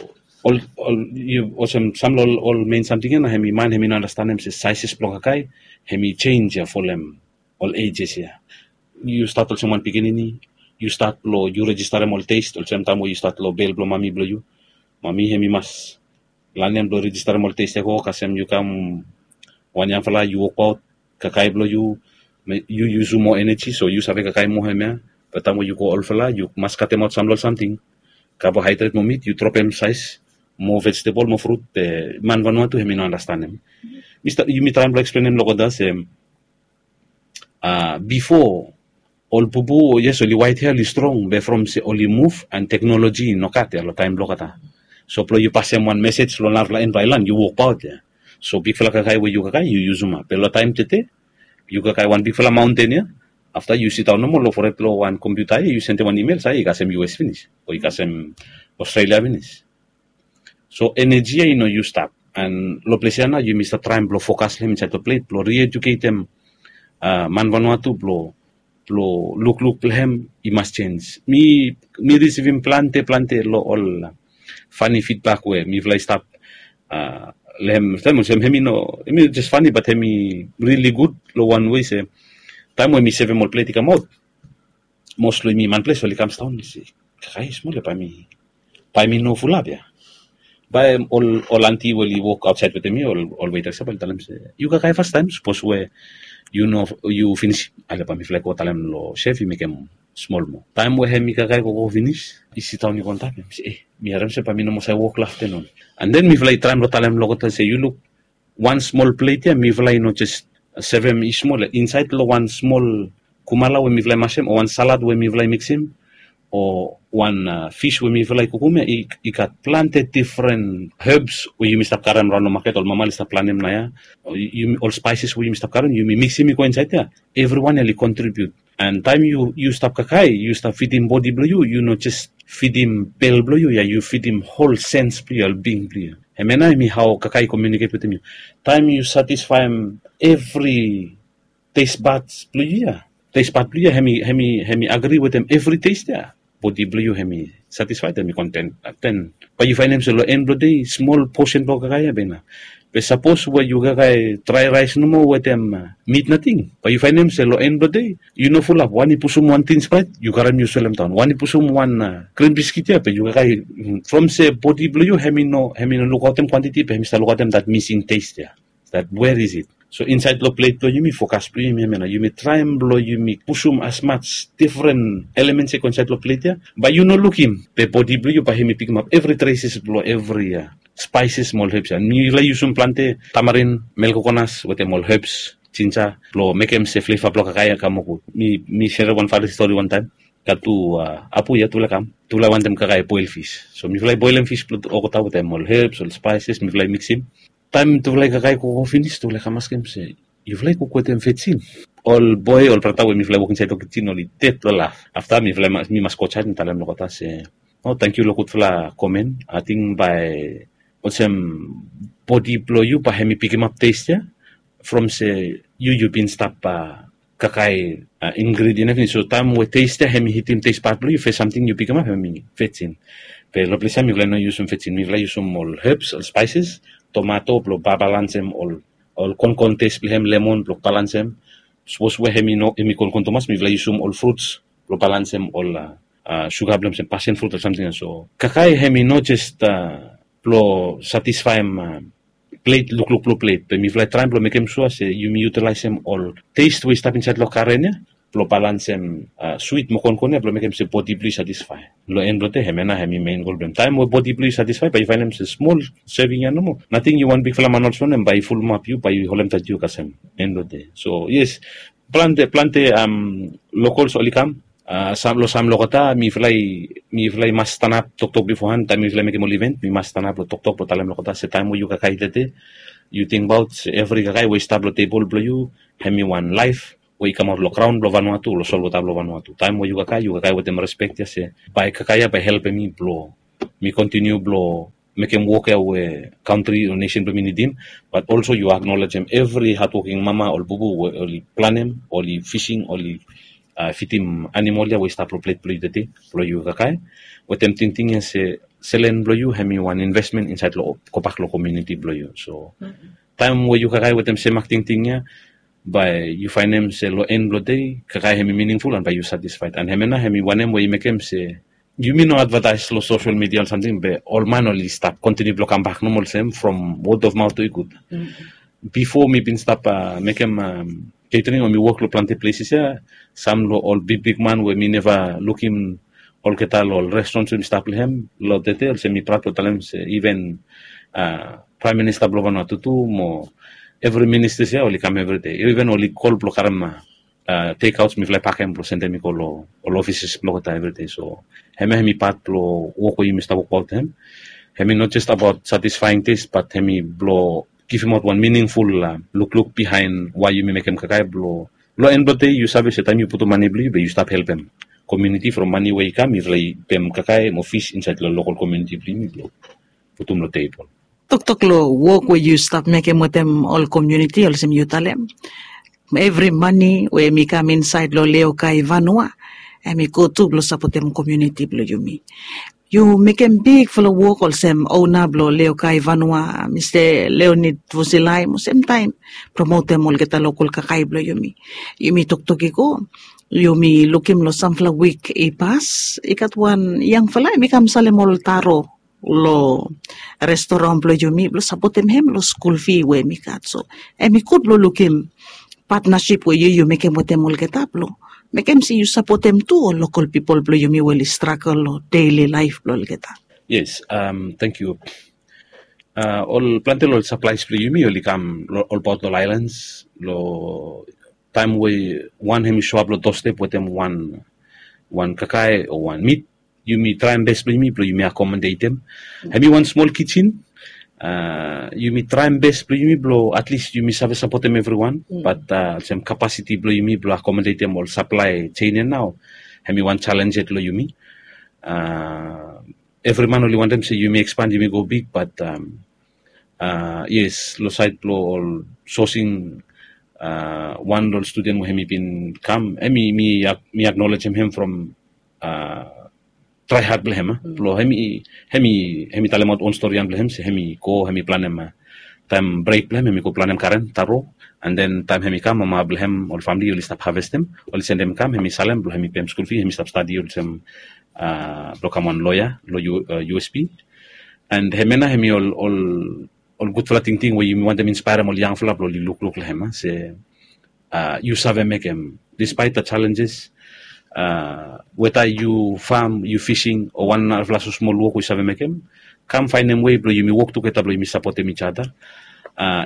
ol ol yu olsem sam long ol main samting ya na hemi man hemi no understanem se sizes blong kakae hemi change ya folem ol ages ya. Yu stat olsem wan pikinini, yu stat blong yu registerem ol taste olsem taem we yu stat long bel blong mami blong yu. Mami hemi mas lanem blong registerem ol taste ya go kasem yu kam wan yangfala yu wokbaot kakae blong yu, yu yusum moa eneji so yu save kakae moa hemia. Be taem we yu go olfala yu mas katemaot sam long ol samting, kabohaedret mo mit yu dropem saes mo vejetebol mo frut. Be man vanua tu hemi no andastanem. Yumi traem blong eksplenem long olgeta se bifo ol bubu yes oli waet hea oli strong be from se oli muv an teknoloji i no gat ya long taem blong olgeta. So blong yu pasem wan mesej long narafala en blong aelan yu wokbaot ya. So bigfala kakae we yu kakae yu yusum ya be long taem tede yu kakae wan bigfala maonten ya. Afta yu sidaon nomo long fored long wan kompiuta ya yu sendem wan imel sae i kasem us finis o i kasem australia finis. So eneji ya i no yu stap an long ples ya nao yumi stap traem blong fokas long hem insaed long plet blong rieduketem man vanua tu blong blong lukluk blong hem i mas jenj. Mi risivim plante plante long ol fani fidbak we mifala i stap long hem taem olsem hem i no hem i jes fani bat hem i rili gud long wan wei se taem we mi sevem ol plet i kamaot mos long yumi manples oli kam staon mi se kakae smol ya bae mi bae mi no fulap ya. Bae ol ol anti we oli wok aotsaed wetem mi ol ol wetas ya bae oli talem se yu kakae fastaem sapos we yu no yu finis ale bae mifala i go talem long sef i mekem smol moa taem we hem i kakae gogo finis i sidaon i go antap ya mi se e mi harem se bae mi no mos save wok long aftenun. An den mifala i traem long talem long olgeta se yu luk wan smol plet ya mifala i no jes sevem i smol ya insaed long wan smol kumala we mifala i masem o wan salad we mifala i miksim o wan fis we mifala i kukum ya i gat plante difren hebs we yumi stap karem raon long maket ol mama oli stap planem nao ya ol spaises we yumi stap karem yumi miksim i go insaed ya. Evriwan ya oli kontribiut an taem yu yu stap kakae yu stap fidim bodi blong yu yu no jes fidim bel blong yu ya yu fidim hol sens blong yu ya ol bing blong yu ya. Hem ya nao hem i hao kakae i komiuniket wetem yu taem yu satisfaem evri tesbad blong yu ya tesbad blong yu ya hem i hem i agri wetem evri tes ya bodi blong yu hem i satisfaed hem i konten. Ten bae yu faenem se long en blong dei smol posen blong kakae ya bae i naf be sapos we yu kakae drae raes nomo wetem mit nating bae yu faenem se long en blong dei yu no fulap wan i pusum wan tin spraet yu karem yu selem daon wan i pusum wan grin biskit ya be yu kakae from se bodi blong yu hem i no hem i no lukaotem kwantiti be hem i stap lukaotem dat mising tes ya. Dat where is it? So insaed long plet blong yumi fokas blong yumi hem ya nao yumi traem blong yumi pusum asmaj difren elemens ya i go insaed long plet ya bae yu no lukim be bodi blong yu bae hem i pikimap evri treses blong evri spaises mo ol hebs ya mifala i yusum plante tamarin melkokonas wetem ol hebs jinja blong mekem se fleva blong kakae ya kam moa gud. Mi serem wan fani stori wantaem gat tu apu ya tufala i kam tufala i wantem kakae boel fis so mifala i boelem fis blong olgeta wetem ol hebs ol spaises mifala i miksim. Taem tufala i kakae gogo finis tufala i kam askem se yufala i kuk wetem vesin? Ol boe ol brata we mifala i wok insaed long kijen oli ded long laf afta mifala i mas mi mas go jaed mi talem long olgeta se o tangkiu long gudfala komen ating bae olsem bodi blong yu bae hem i pikimap tes ya from se yu yu bin stap kakae ingredien evriting so taem we tes ya hem i hitim tesbad blong yu fes samting yu pikimap hem i vesin. Be long ples ya mifala i no yusum vesin mifala i yusum ol hebs ol spaises tomato blong babalansem ol ol konkon tes blong hem lemon blong balansem sapos we hem i no hem i konkon tumas mifala i yusum ol fruts blong balansem ol suga blong hem olsem pasen frut o samting ya so kakae hem i no jes blong satisfaem plet lukluk blong plet be mifala i traem blong mekem sua se yumi yutelaesem ol tes we i stap insaed long karen ya blong balansem swit mo konkon ya blong mekem se bodi blong yu satisfae. Long en blong dei hem ya nao hem i mein gol blong hem taem we bodi blong yu satisfae bae yu faenem se smol seving ya nomo nating yu wan bigfala man olsem wanem bae i fulumap yu bae i holemtaet yu kasem en blong dei so yes plante plante lokols oli kam Sam long sam long olgeta mifala i mas stanap toktok bifohan taem mifala i mekem ol iven, mi mas stanap long toktok blong talem long olgeta se taem we yu kakae tete, yu tingbaot se evri kakae we i stap long tebol blong yu hem i wan laef we i kamaot long graon blong Vanuatu, long solwota blong Vanuatu. Taem we yu kakae, yu kakae wetem respek ya se bae kakae ya bae helpem mi blong mi kontiniu blong mekem wok ya we kantri o nesen blong mi nidim. Bat olso yu aknolejem evri hadwoking mama ol bubu we oli planem, oli fising, oli fidim animol ya we i stap long plet blong yu tete blong yu kakae wetem tingting ya se selen blong yu hem i wan invesmen insaed long gobak long komuniti blong yu. So taem we yu kakae wetem semak tingting ya, bae yu faenem se long en blong dei kakae hem i miningful an bae yu satisfaed. An hemia nao hem i wanem we i mekem se yumi no advataes long sosel midia ol samting be ol man oli stap kontiniu blong kambak nomo olsem from wod of maot tu i gud. Bifo mi bin stap mekem ketering o mi wok long plante pleses ya, sam long ol bigbigman we mi neva lukim olgeta long ol restrons we mi stap long hem long tete olsem mi praod blong talem se iven praem minista blong Vanuatu tu mo evri ministas ya oli kam evri dei, iven oli kol blong karem tekaots mifala i pakem blong sendem i go long ol ofises blong olgeta evri dei. So hemia hem i pat blong wok we yumi stap wokbaot hem. Hem i no jes abaot satisfaing tes bat hem i blong givimaot wan miningful lukluk bihaen wae yumi mekem kakae blong long en blong dei yu save se taem yu putum mane blong yu be yu stap helpem komuniti from mane we i kam mifala i pem kakae mo fis insaed long lokol komuniti blong yumi blong putum long tebol. Toktok long wok we yu stap mekem wetem ol komuniti olsem yu talem, evri mane we hem i kam insaed long Leokai Vanua hem i go tu blong sapotem komuniti blong yumi. Yu mekem bigfala wok olsem ona blong Leokai Vanua, Mista Leonid Vosilai mo semtaem promotem olgeta lokol kakae blong yumi. Yumi toktok i go, yumi lukim long samfala wik i pas i gat wan yangfala hem i kam salem ol taro long restoran blong yumi blong sapotem hem long skul fi we hem i gat. So hem i gud blong lukim patnasip we yu yu mekem wetem olgeta blong mekem se yu sapotem tu ol lokol pipol blong yumi we oli stragel long deili laef blong olgeta. Yes, tangkiu. Ol plante long ol saplaes blong yumi oli kam olbaot long ol aelans long taem we wan hem i soap long dostep wetem wan kakae o wan mit, yumi traem bes blong yumi blong yumi akomodetem. Hem i wan smol kijen. Yumi traem bes blong yumi blong atlis yumi save sapotem evriwan bat olsem kapasiti blong yumi blong akomodetem ol saplae jein ya nao hem i wan jalenj yet long yumi. Evri man oli wantem se yumi ekspan yumi go big bat yes, long saed blong ol sosing wan long ol studen we hem i bin kam hem i mi aknolejem hem from trae had blong hem blong hem i talemaot on storian blong hem se hem i go hem i planem taem brek blong hem hem i go planem karen taro. An den taem hem i kam mama blong hem ol famili oli stap havestem, oli sendem i kam hem i salem blong hem i pem skul fi hem i stap stadi olsem blong kam wan loea long usp. An hemia nao hem i ol ol gudfala tingting we yumi wantem inspaerem ol yangfala blong oli lukluk long hem se yu save mekem dispaet da jalenjes. Weta yu fam yu fising o wan narafala so smol wok we yu save mekem, kam faenem wei blong yumi wok tugeta blong yumi sapotem ijada.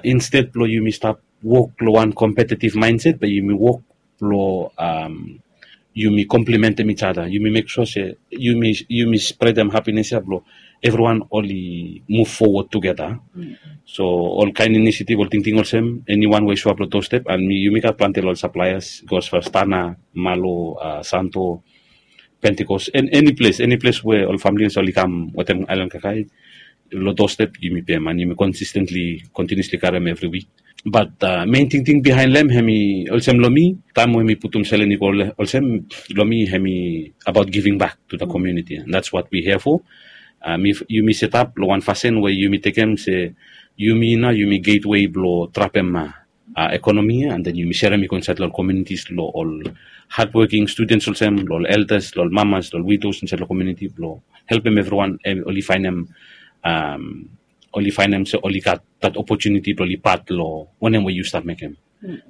Insted blong yumi stap wok long wan kompetitiv maenset be yumi wok blong yumi komplimentem ijada yumi mek sua se yumi spredem hapines ya blong evriwan oli muv fowod tugeta. So ol kaen inisitiv ol tingting olsem eniwan we i soap long tostep an yumi gat plante long ol saplaeas gos fastana malo santo, pentikos, eni ples eni ples we ol famili olsem oli kam wetem aelan kakae long tostep yumi pem an yumi konsistentli kontiniusli karem evri wik. Bat mein tingting bihaen long hem hem i olsem long mi taem we mi putum selen i go olsem long mi hem i abaot giving bak tu da komuniti an dats wat wi hea fo. Yumi setap long wan fasin we yumi tekem se yumi nao yumi getwei blong trapem ekonomi ya an den yumi serem i go insaed long ol komunitis long ol hadwoking studens olsem long ol eldas long ol mamas long ol widos insaed long komuniti blong helpem evriwan oli faenem oli faenem se oli gat dat opotuniti blong oli pat long wanem we yu stap mekem.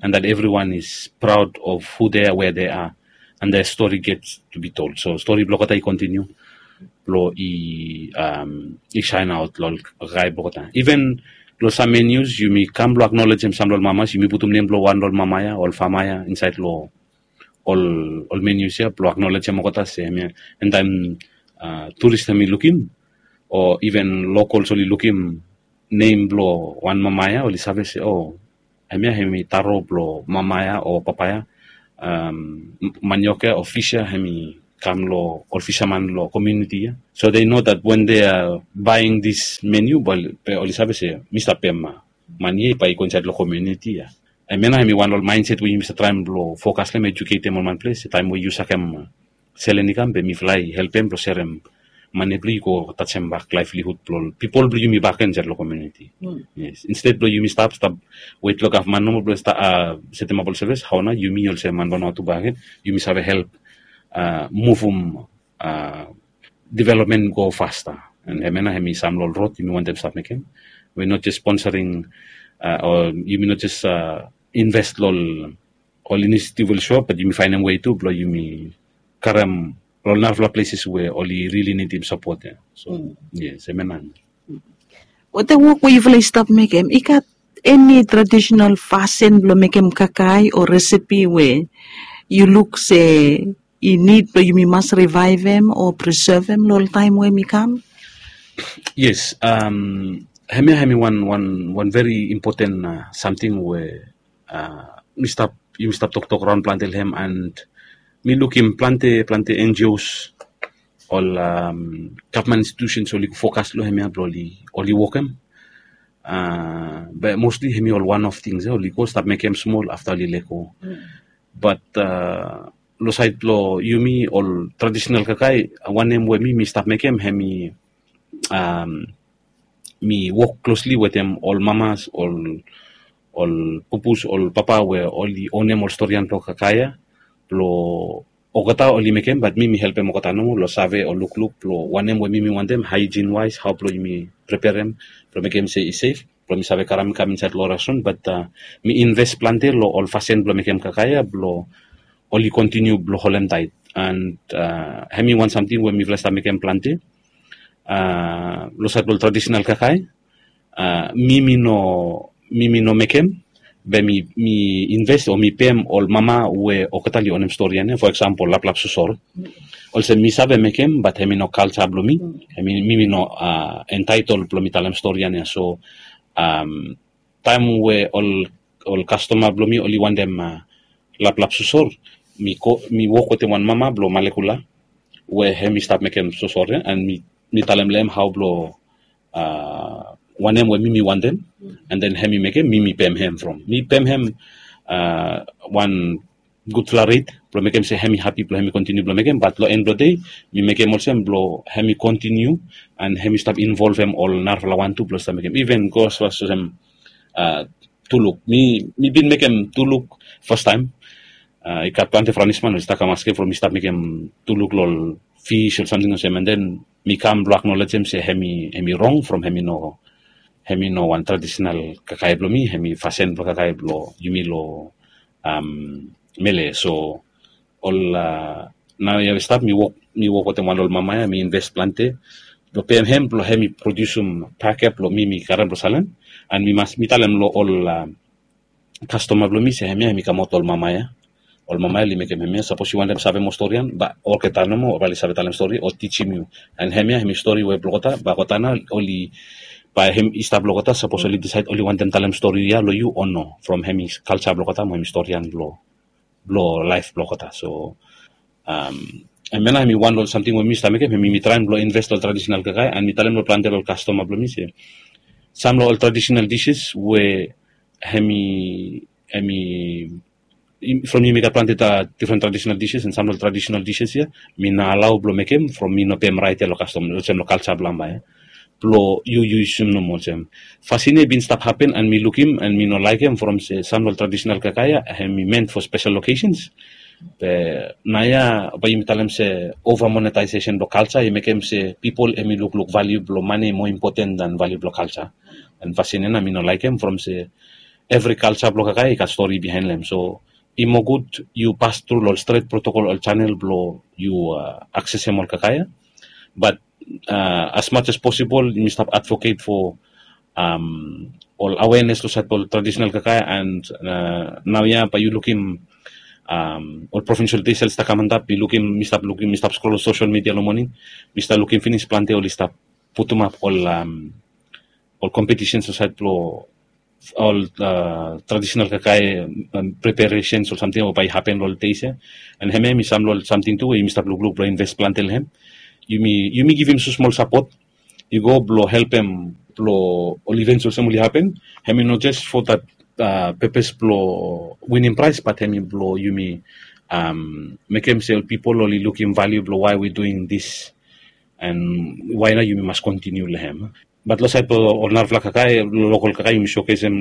And that everyone is proud of who they are, where they are, and their story gets to be told. So stori blong olgeta i kontiniu blong i i saen aot long ol kakae blong olgeta. Iven long sam menus yumi kam blong aknolejem sam long ol mamas, yumi putum nem blong wan long ol mama ya, ol fama ya insaed long ol ol menus ya blong aknolejem olgeta se hemia, en taem turis hemi lukim o iven lokals oli lukim nem blong wan mama ya, oli save se, o, hemia hemi taro blong mama ya o papa ya, manioka o fis ya hemi kam long ol fisaman long komuniti ya. So they know that when they are buying this menu, be oli save se mi stap pem mani ya bae i go insaed long komuniti ya. Hemia nao hemi wan long ol mindset we yumi stap traem blong fokas long hem, eduketem ol manples se taem we yu sakem selen i kam, be mifala i helpem blong serem mane blong i go tajem bak laevlihud blong ol pipol blong yumi bakegen insaed long komuniti. Instead blong yumi stap stap wet long gavman nomo blong setemap ol sevis, hao nao yumi olsem man Vanuatu bakegen yumi save help muvum development go fasta. And hemia nao hemi sam long ol rod yumi wantem stap mekem. We not just sponsoring o yumi not just invest long ol initiative oli show, but yumi faenem wei tu blong yumi karem long ol narafala places we oli really nidim sapot ya. So yes, hemia nao. Wetem wok we yufala i stap mekem, i gat eni traditional fasin blong mekem kakae o recipe we yu luk se i nid blong yumi mas rivaevem o prisevem long ol taem we hemi kam? Yes, hemia hemi wan wan wan very important samting we mi stap yumi stap toktok raon plante long hem, and mi lukim plante plante N G Os, ol gavman institutions oli fokas long hemia blong oli wokem. Be mostly hemi ol one of things ya, oli go stap mekem smol afta oli lego. But long saed blong yumi ol traditional kakae, wanem we mi mi stap mekem hemi mi wok klosli wetem ol mamas, ol ol pupus, ol papa we oli onem ol storian blong kakae ya blong olgeta oli mekem, bat mi mi helpem olgeta nomo long save o lukluk blong wanem we mi mi wantem, hygiene wise, hao blong yumi preperem blong mekem se i sef blong mi save karem kam insaed long restoran. Bat mi inves plante long ol fasin blong mekem kakae ya blong oli kontiniu blong holem taet. And hemi wan samting we mifala i stap mekem plante long saed blong ol traditional kakae. Mi mi no mi mi no mekem, be mi mi inves o mi pem ol mama we olgeta oli onem storian ya, for example laplap sosor. Olsem mi save mekem, bat hemi no kalja blong mi. Hemi mi mi no entaetel blong mi talem storian ya. So taem we ol ol kastoma blong mi oli wantem laplap sosor, mi go mi wok wetem wan mama blong Malekula we hemi stap mekem sosor ya, and mi mi talem long hem hao blong wanem we mi mi wantem, and then hemi mekem, mi mi pem hem from mi pem hem wan gudfala ret blong mekem se hemi hapi blong hemi kontiniu blong mekem. Bat long en blong dei mi mekem olsem blong hemi kontiniu and hemi stap involvem ol narafala wan tu blong stap mekem, iven go asfas olsem tuluk. Mi mi bin mekem tuluk fastaem. I gat plante franisman oli stap kam askem from mi stap mekem tuluk long ol fis o samting olsem, and then mi kam blong aknolejem se hemi hemi rong from hemi no hemi no wan traditional kakae blong mi, hemi fasin blong kakae blong yumi long mele. So ol nao ya we stap mi wok mi wok wetem wan long ol mama ya, mi inves plante blong pem hem blong hemi produsum pake blong mi mi karem blong salem. And mi mas mi talem long ol kastoma blong mi se hemia hemi kamaot long ol mama ya. Ol mama ya oli mekem hemia. Sapos yu wantem save moa storian, bae olgeta nomo oli save talem stori o tijim yu. And hemia hemi stori we blong olgeta, bae olgeta nao oli bae hem i stap long olgeta sapos oli disaed oli wantem talem stori ya long yu o no, from hemi kalja blong olgeta mo hemi storian blong blong laef blong olgeta. So hemia nao hemi wan long ol samting we mi stap mekem, hemi mi traem blong inves long ol traditional kakae, and mi talem long plante long ol kastoma blong mi se sam long ol traditional dishes we hemi hemi from yumi gat plante difren traditional dishes, and sam long ol traditional dishes ya mi no alao blong mekem from mi no pem raet ya long kastom olsem long kalja blong mama ya. Blong yu yu yusum nomo olsem. Fasin ya i bin stap hapen and mi lukim and mi no laekem from se sam long ol traditional kakae ya hemi meant for special occasions. Be naoia bae yumi talem se over monetization blong kalja i mekem se pipol hemi lukluk valiu blong mane i moa impoten dan valiu blong kalja. And fasin ya nao mi no laekem from se evri kalja blong kakae i gat stori bihaen long hem. So i moa gud yu pas tru long ol stret protokol, ol janel blong yu aksesem ol kakae ya. Bat as much as possible yumi stap advocate for ol awareness long sait blong ol traditional kakae, and naoia bae yu lukim Ol provincial days oli stap kam antap, mi lukim, mi stap lukim, mi stap scroll social media long moning, mi stap lukim finis plante oli stap putum ap ol ol competitions olsait blong ol traditional kakae preparations ol samting we bai hapen long ol days ya. And hemia mi sam long ol samting tu we yumi stap lukluk blong invest plante long hem. Yumi yumi givim smosmol sapot i go blong helpem blong ol events olsem oli hapen. Hem i no jes for that purpose blong winim prais, bat hem i blong yumi mekem se ol pipol oli lukim value blong why we doing this and why nao yumi mas kontiniu long hem. Bat long sait blong ol narafala kakae, lokol kakae yumi showcasem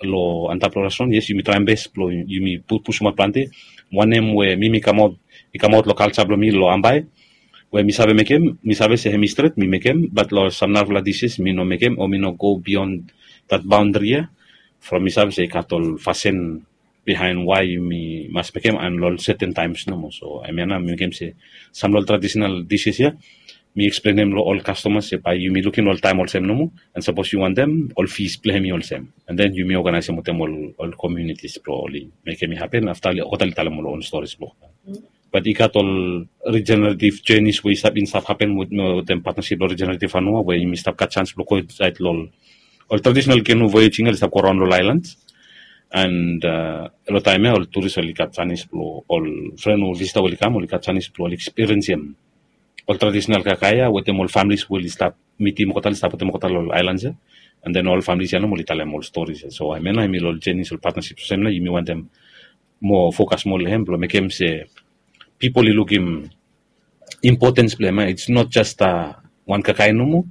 long antap long restaurant, yes, yumi traem bes blong yumi pusumaot plante. Wanem we mi mi kamaot, i kamaot long kalsa blong mi long Ambae, we mi save mekem, mi save se hem i stret, mi mekem. Bat long sam narafala dishes mi no mekem o mi no go beyond that boundary ya. From mi save se i gat ol fasin bihaen why yumi mas mekem and long certain times nomo. So hemia nao mi mekem se sam long ol traditional dishes ya mi eksplenem long ol kastomas se bae yumi lukim long ol taem olsem nomo, and sapos yu wantem, ol fees blong hem i olsem. And then yumi oganaesem wetem ol communities blong oli mekem i hapen afta olgeta oli talem ol own stories blong. Bat i gat ol regenerative journeys we i stap, i stap hapen wetem partnership blong Regenerative Vanua, we yumi stap gat chance blong go insaed long ol traditional canoe voyaging oli stap go raon long ol islands. And long taem ya ol tourist oli gat chance blong, ol fren o visitor oli kam, oli gat chance blong oli experiencem ol traditional kakae ya wetem ol families we oli stap mitim olgeta, oli stap wetem olgeta long ol islands ya. And then ol families ya nomo oli talem ol stories ya. So hemia nao hemi long ol journeys, ol partnerships olsem nao yumi wantem mo focus mo long hem blong mekem se pipol i lukim importance blong hem. It's not just wan kakae nomo.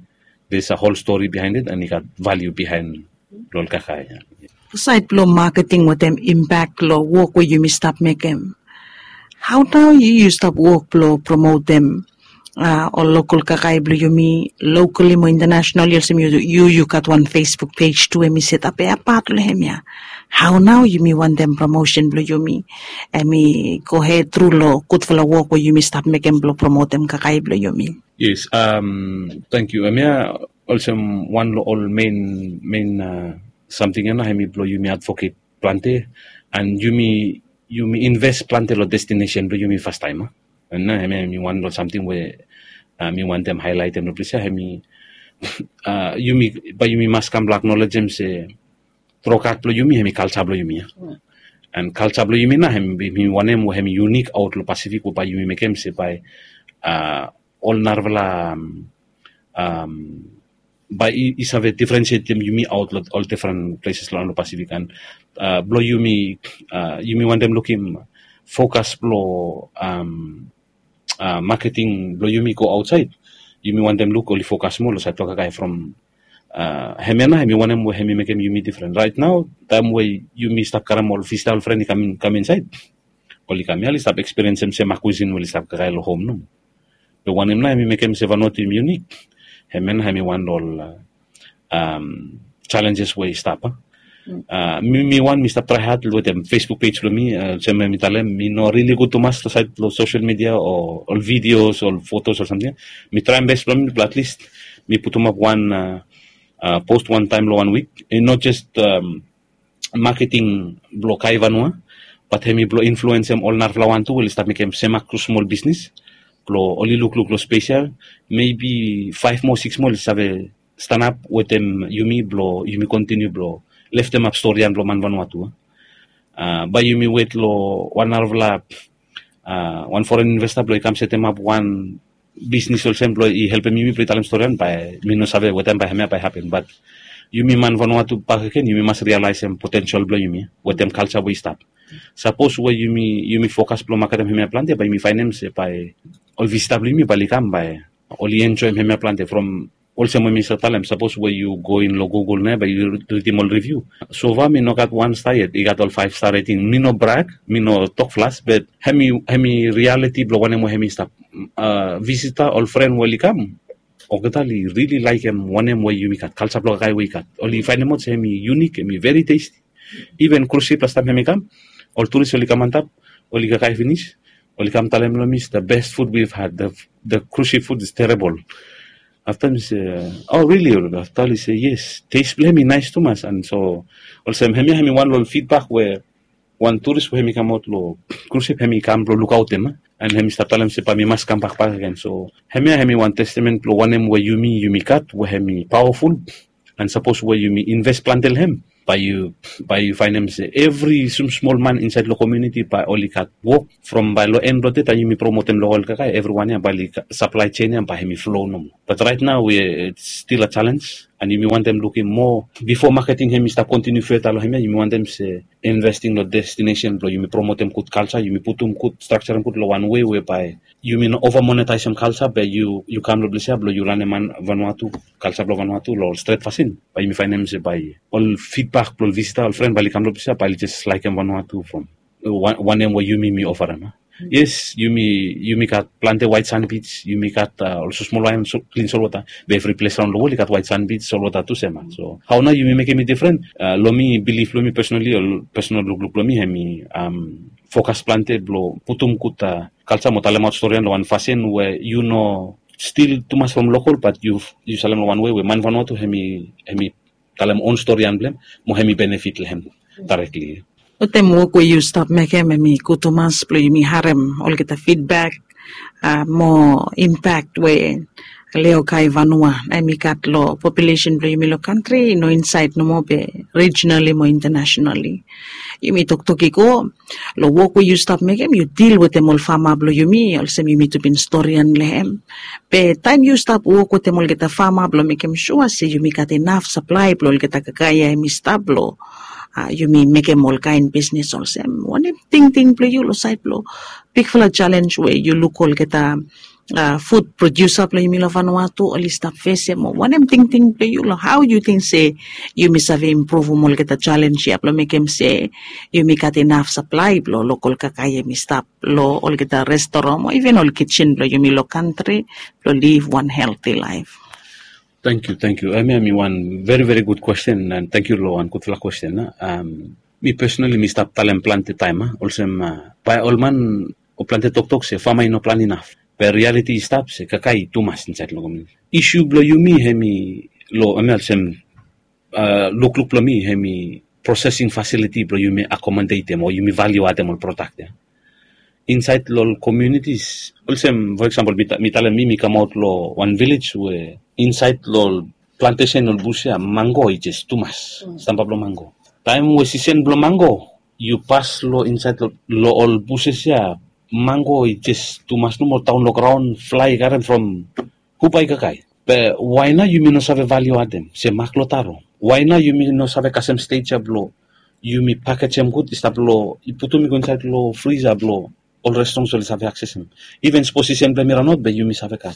There's a whole story behind it and i gat value behind long ol kakae ya. Saed blong marketing wetem impact long wok we yumi stap mekem, hao nao yu yu stap wok blong promotem ol lokol kakae blong yumi, locally mo internationally? Olsem yu yu gat wan Facebook page tu we mi set ap ya apat long hemia. Hao nao yumi wantem promotion blong yumi hemi go hed tru long gudfala wok we yumi stap mekem blong promotem kakae blong yumi? Yes, tangkiu. Hemia olsem wan long ol mein mein samting ya nao hemi blong yumi advocate plante and yumi yumi invest plante long destination blong yumi fastaem. And nao hemia hemi wan long samting we mi wantem haelaetem long ples ya, hemi yumi bae yumi mas kam blong aknolejem se trogat blong yumi hemi kalsa blong yumi ya. And kalsa blong yumi nao hemi wanem we hemi unik aot long Pasifik we bae yumi mekem se bae ol narafala bae i save differentiatem yumi aot long ol different places long Pasifik. And blong yumi yumi wantem lukim focus blong marketing blong yumi go aotsaed. Yumi wantem luk oli focus moa long saed blong kakae from hemia nao hemi wanem we hemi mekem yumi different. Right nao taem we yumi stap karem ol visitor, ol fren i kam insaed, oli kam ya oli stap experience-em se mak cuisine we oli stap kakae long home nomo. Be wanem nao hemi mekem se Vanuatu hemi unique? Hemia nao hemi wan long ol challenges we i stap. Mi wan mi stap trae had wetem Facebook page blong mi, olsem we mi talem, mi no rili gud tumas long saed long social media o ol videos o ol photos o samting. Mi traem bes blong mi blong at least mi putumap wan post wan taem long wan wik. I no jes marketing blong Kai Vanua, bat hemi blong influensem ol narafala wan tu we oli stap mekem semak smol bisnis blong oli lukluk long spes ya. Mebi faef moa, sikis moa oli save stanap wetem yumi blong yumi kontiniu blong leftemap storian blong man Vanuatu. Bae yumi wet long wan narafala wan foren investa blong i kam setemap wan bisnis olsem blong i helpem yumi blong i talem storian, bae mi no save wetem bae hemia bae hapen. Bat yumi man Vanuatu bakegen yumi mas rialaesem potensel blong yumi wetem kalsa we i stap. Sapos we yumi yumi fokas blong maketem hemia plante, bae yumi faenem se bae ol visita blong yumi bae oli kam, bae oli enjoem hemia plante from olsem we mi stap talem, sapos we yu go in long Google nao bae yu ridim ol review. So far mi no gat wan sta yet i gat ol five star rating. Mi no brag, mi no tok flas, bat hemi hemi reality blong wanem we hemi stap. Visita, ol fren we oli kam, olgeta oli rili laekem wanem we yumi gat, kalsa blong kakae we i gat. Oli faenemaot se hemi unique, hemi very tasty. Even cruise ship lastaem hemi kam, ol turis oli kam antap, oli kakae finis, oli kam talem long mi se the best food we've had, the cruise ship food is terrible. Afta mi se, oh really? Afta oli se yes, taste blong hem i naes tumas. And so olsem hemia hemi wan long ol feedback we wan turis we hem i kamaot long krusip hem i kam blong lukaotem, a, an hem i stap talem se bae mi mas kambak bakegen. So hemia hem i wan testemen blong wanem we yumi yumi gat we hem i paoaful. An sapos we yumi inves plante long hem, bae yu bae yu faenem se evri smosmol man insaed long komiuniti bae oli gat wok. From bae long en blong de taem yumi promotem long ol kakae evriwan ya bae oli saplae sen ya bae hem i flo nomo. Bat raet nao we stil a jalens, an yumi wantem lukim moa. Bifo maketing hem i stap kontiniu feta long hemia yumi wantem se investing long destinesen blong yumi promotem gud kalsa, yumi putum gud strakjarem gud long wan wei we bae yumi no ova monetaesem kalsa be yu kam long ples ya blong yu lanem man vanua tu, kalsa blong vanua tu long ol stret fasin. Bae yumi faenem se bae ol fidbak blong ol visita ol fren bae oli kam long ples ya bae oli jes laekem vanua tu from wanem we yumi mi ofarem. Yes, yumi yumi gat plante waet sanbij, yumi gat ol smosmol waen klin solwota. Be evri ples raon long wol i gat waet sanbij solwota tu sem. So hao nao yumi mekem i difren? Long mi bilif blong mi pesonali ol pesonal lukluk blong mi hem i fokas plante blong putum gud kalsa mo talemaot storian long wan fasin we yu no stil tumas from lokol bat yu salem long wan wei we man vanua tu hem i talem on storian blong hem mo hem i benefit long hem daerekli. Wetem wok we yu stap mekem hem i gud tumas blong yumi harem olgeta fidbak mo impak we leokai vanua na hem i gat long populesen blong yumi long kantri i no insaed nomo be rijinali mo intanasonali. Yumi toktok i go long wok we yu stap mekem yu dil wetem ol fama blong yumi olsem yumi tu bin storian long hem. Be taem yu stap wok wetem olgeta fama blong mekem sua se yumi gat inaf saplae blong olgeta kakae ya hem i stap blong yumi mekem olkaen bisnes olsem wanem tingting blong yu long saed blong bigfala jalens we yu luk olgeta fud prodiusa blong yumi long vanua tu oli stap fesem o wanem tingting blong yu long hao yu ting se yumi save impruvum olgeta jalens ya blong mekem se yumi gat inaf saplae blong lokol kakae hem i stap long olgeta restoran o iven ol kijen blong yumi long kantri blong liv wan helti laef? Tangkiu tangkiu. Hemia hem i wan veri veri gud kwesten an tangkiu long wan gudfala kwesten. Mi pesonali mi stap talem plante taem olsem bae ol man o plante toktok se fama i no plan inaf. Be rialiti i stap se kakae i tumas insaed long komiuniti. Isu blong yumi hem i long hemia olsem lukluk blong mi hem i prosesing fasiliti blong yumi akomodetem o yumi valiu adem ol prodak ya insaed long ol komiunitis. Olsem fo eksampol mi talem mi mi kamaot long wan vilej we insaed long ol plantesen ol bus ya mango i jes tumas. Stamba blong mango taem we sisen blong mango yu pas long insaed long ol buses ya mango i jes tumas nomo taon long graon flae i karem from hu bae i kakae. Be wae nao yumi no save valiu adem se mak long taro? Wae nao yumi no save kasem stej ya blong yumi pakejem gud i stap long i putum i go insaed long frisa blong ol restorans oli save aksesem? Iven sposisen blong hem i ranaot be yumi save gat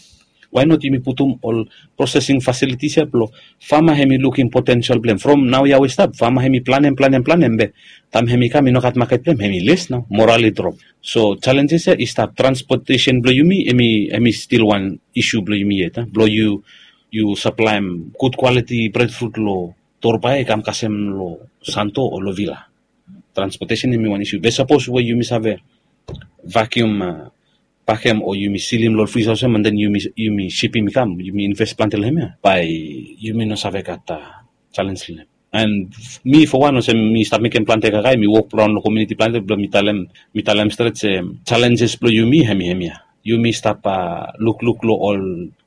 wae not yumi putum ol prosesing fasilitis ya blong fama hem i lukim potensel blong hem from nao ya we i stap fama hem i planem planem planem be taem hem i kam i no gat maket blong hem hem i les nao moral i drop. So jalenjes ya i stap transpotesen blong yumi hem i stil wan isu blong yumi yet blong yu yu saplaem gud kwaliti bredfrut long torbae i kam kasem long santo o long vila. Transpotesen hem i wan isu be sapos we yumi save vakium pakem o yumi silim long ol frisa olsem an den yumi sipim i kam yumi inves plante long hem ya bae yumi no save gat jalens long hem. An mi fo wan olsem mi stap mekem plante kakae mi wok raon long komiuniti plante blong mi talem mi talem stret se jalenjes blong yumi hem i hem ya yumi stap lukluk long ol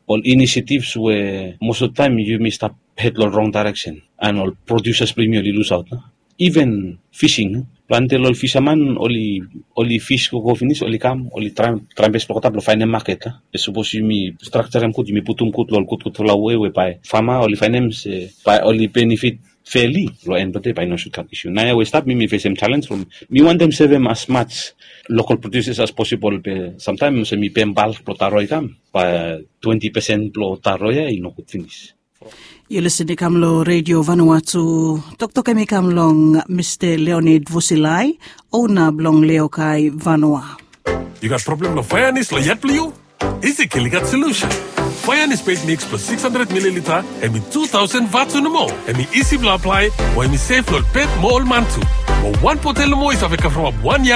ol inisiativs we mos of taem yumi stap hed long rong daereksen an ol prodiusas blong yumi oli lusaot nao. Iven fising plante long ol fisaman oli oli fis gogo finis oli kam oli traem traem bes blong olgeta blong faenem maket a be sapos yumi strakjarem gud yumi putum gud long ol gudgudfala wei we bae fama oli faenem se bae oli benefit feli long en blong de bae i no sud gat isu naoia we i stap mi mi fesem jalens from mi wantem sevem as mats lokol prodiusas as posibol be samtaem olsem mi pem balk blong taro i kam bae twenti pesen blong taro ya i no gud finis. Yu lisen i kam long redio vanua tu. Toktok hem i kam long mista leonid vusilai, ona blong leokai vanua. Yu gat problem long faeanis long yat blong yu? Isi kil i gat solusen. Faeanis peit miks blong six hundred mililita hem i two thousand vatu nomo. Hem i isi blong aplae mo hem i sef long ol pet mo ol man tu. Mo wan botel nomo i save kavremap wan yat.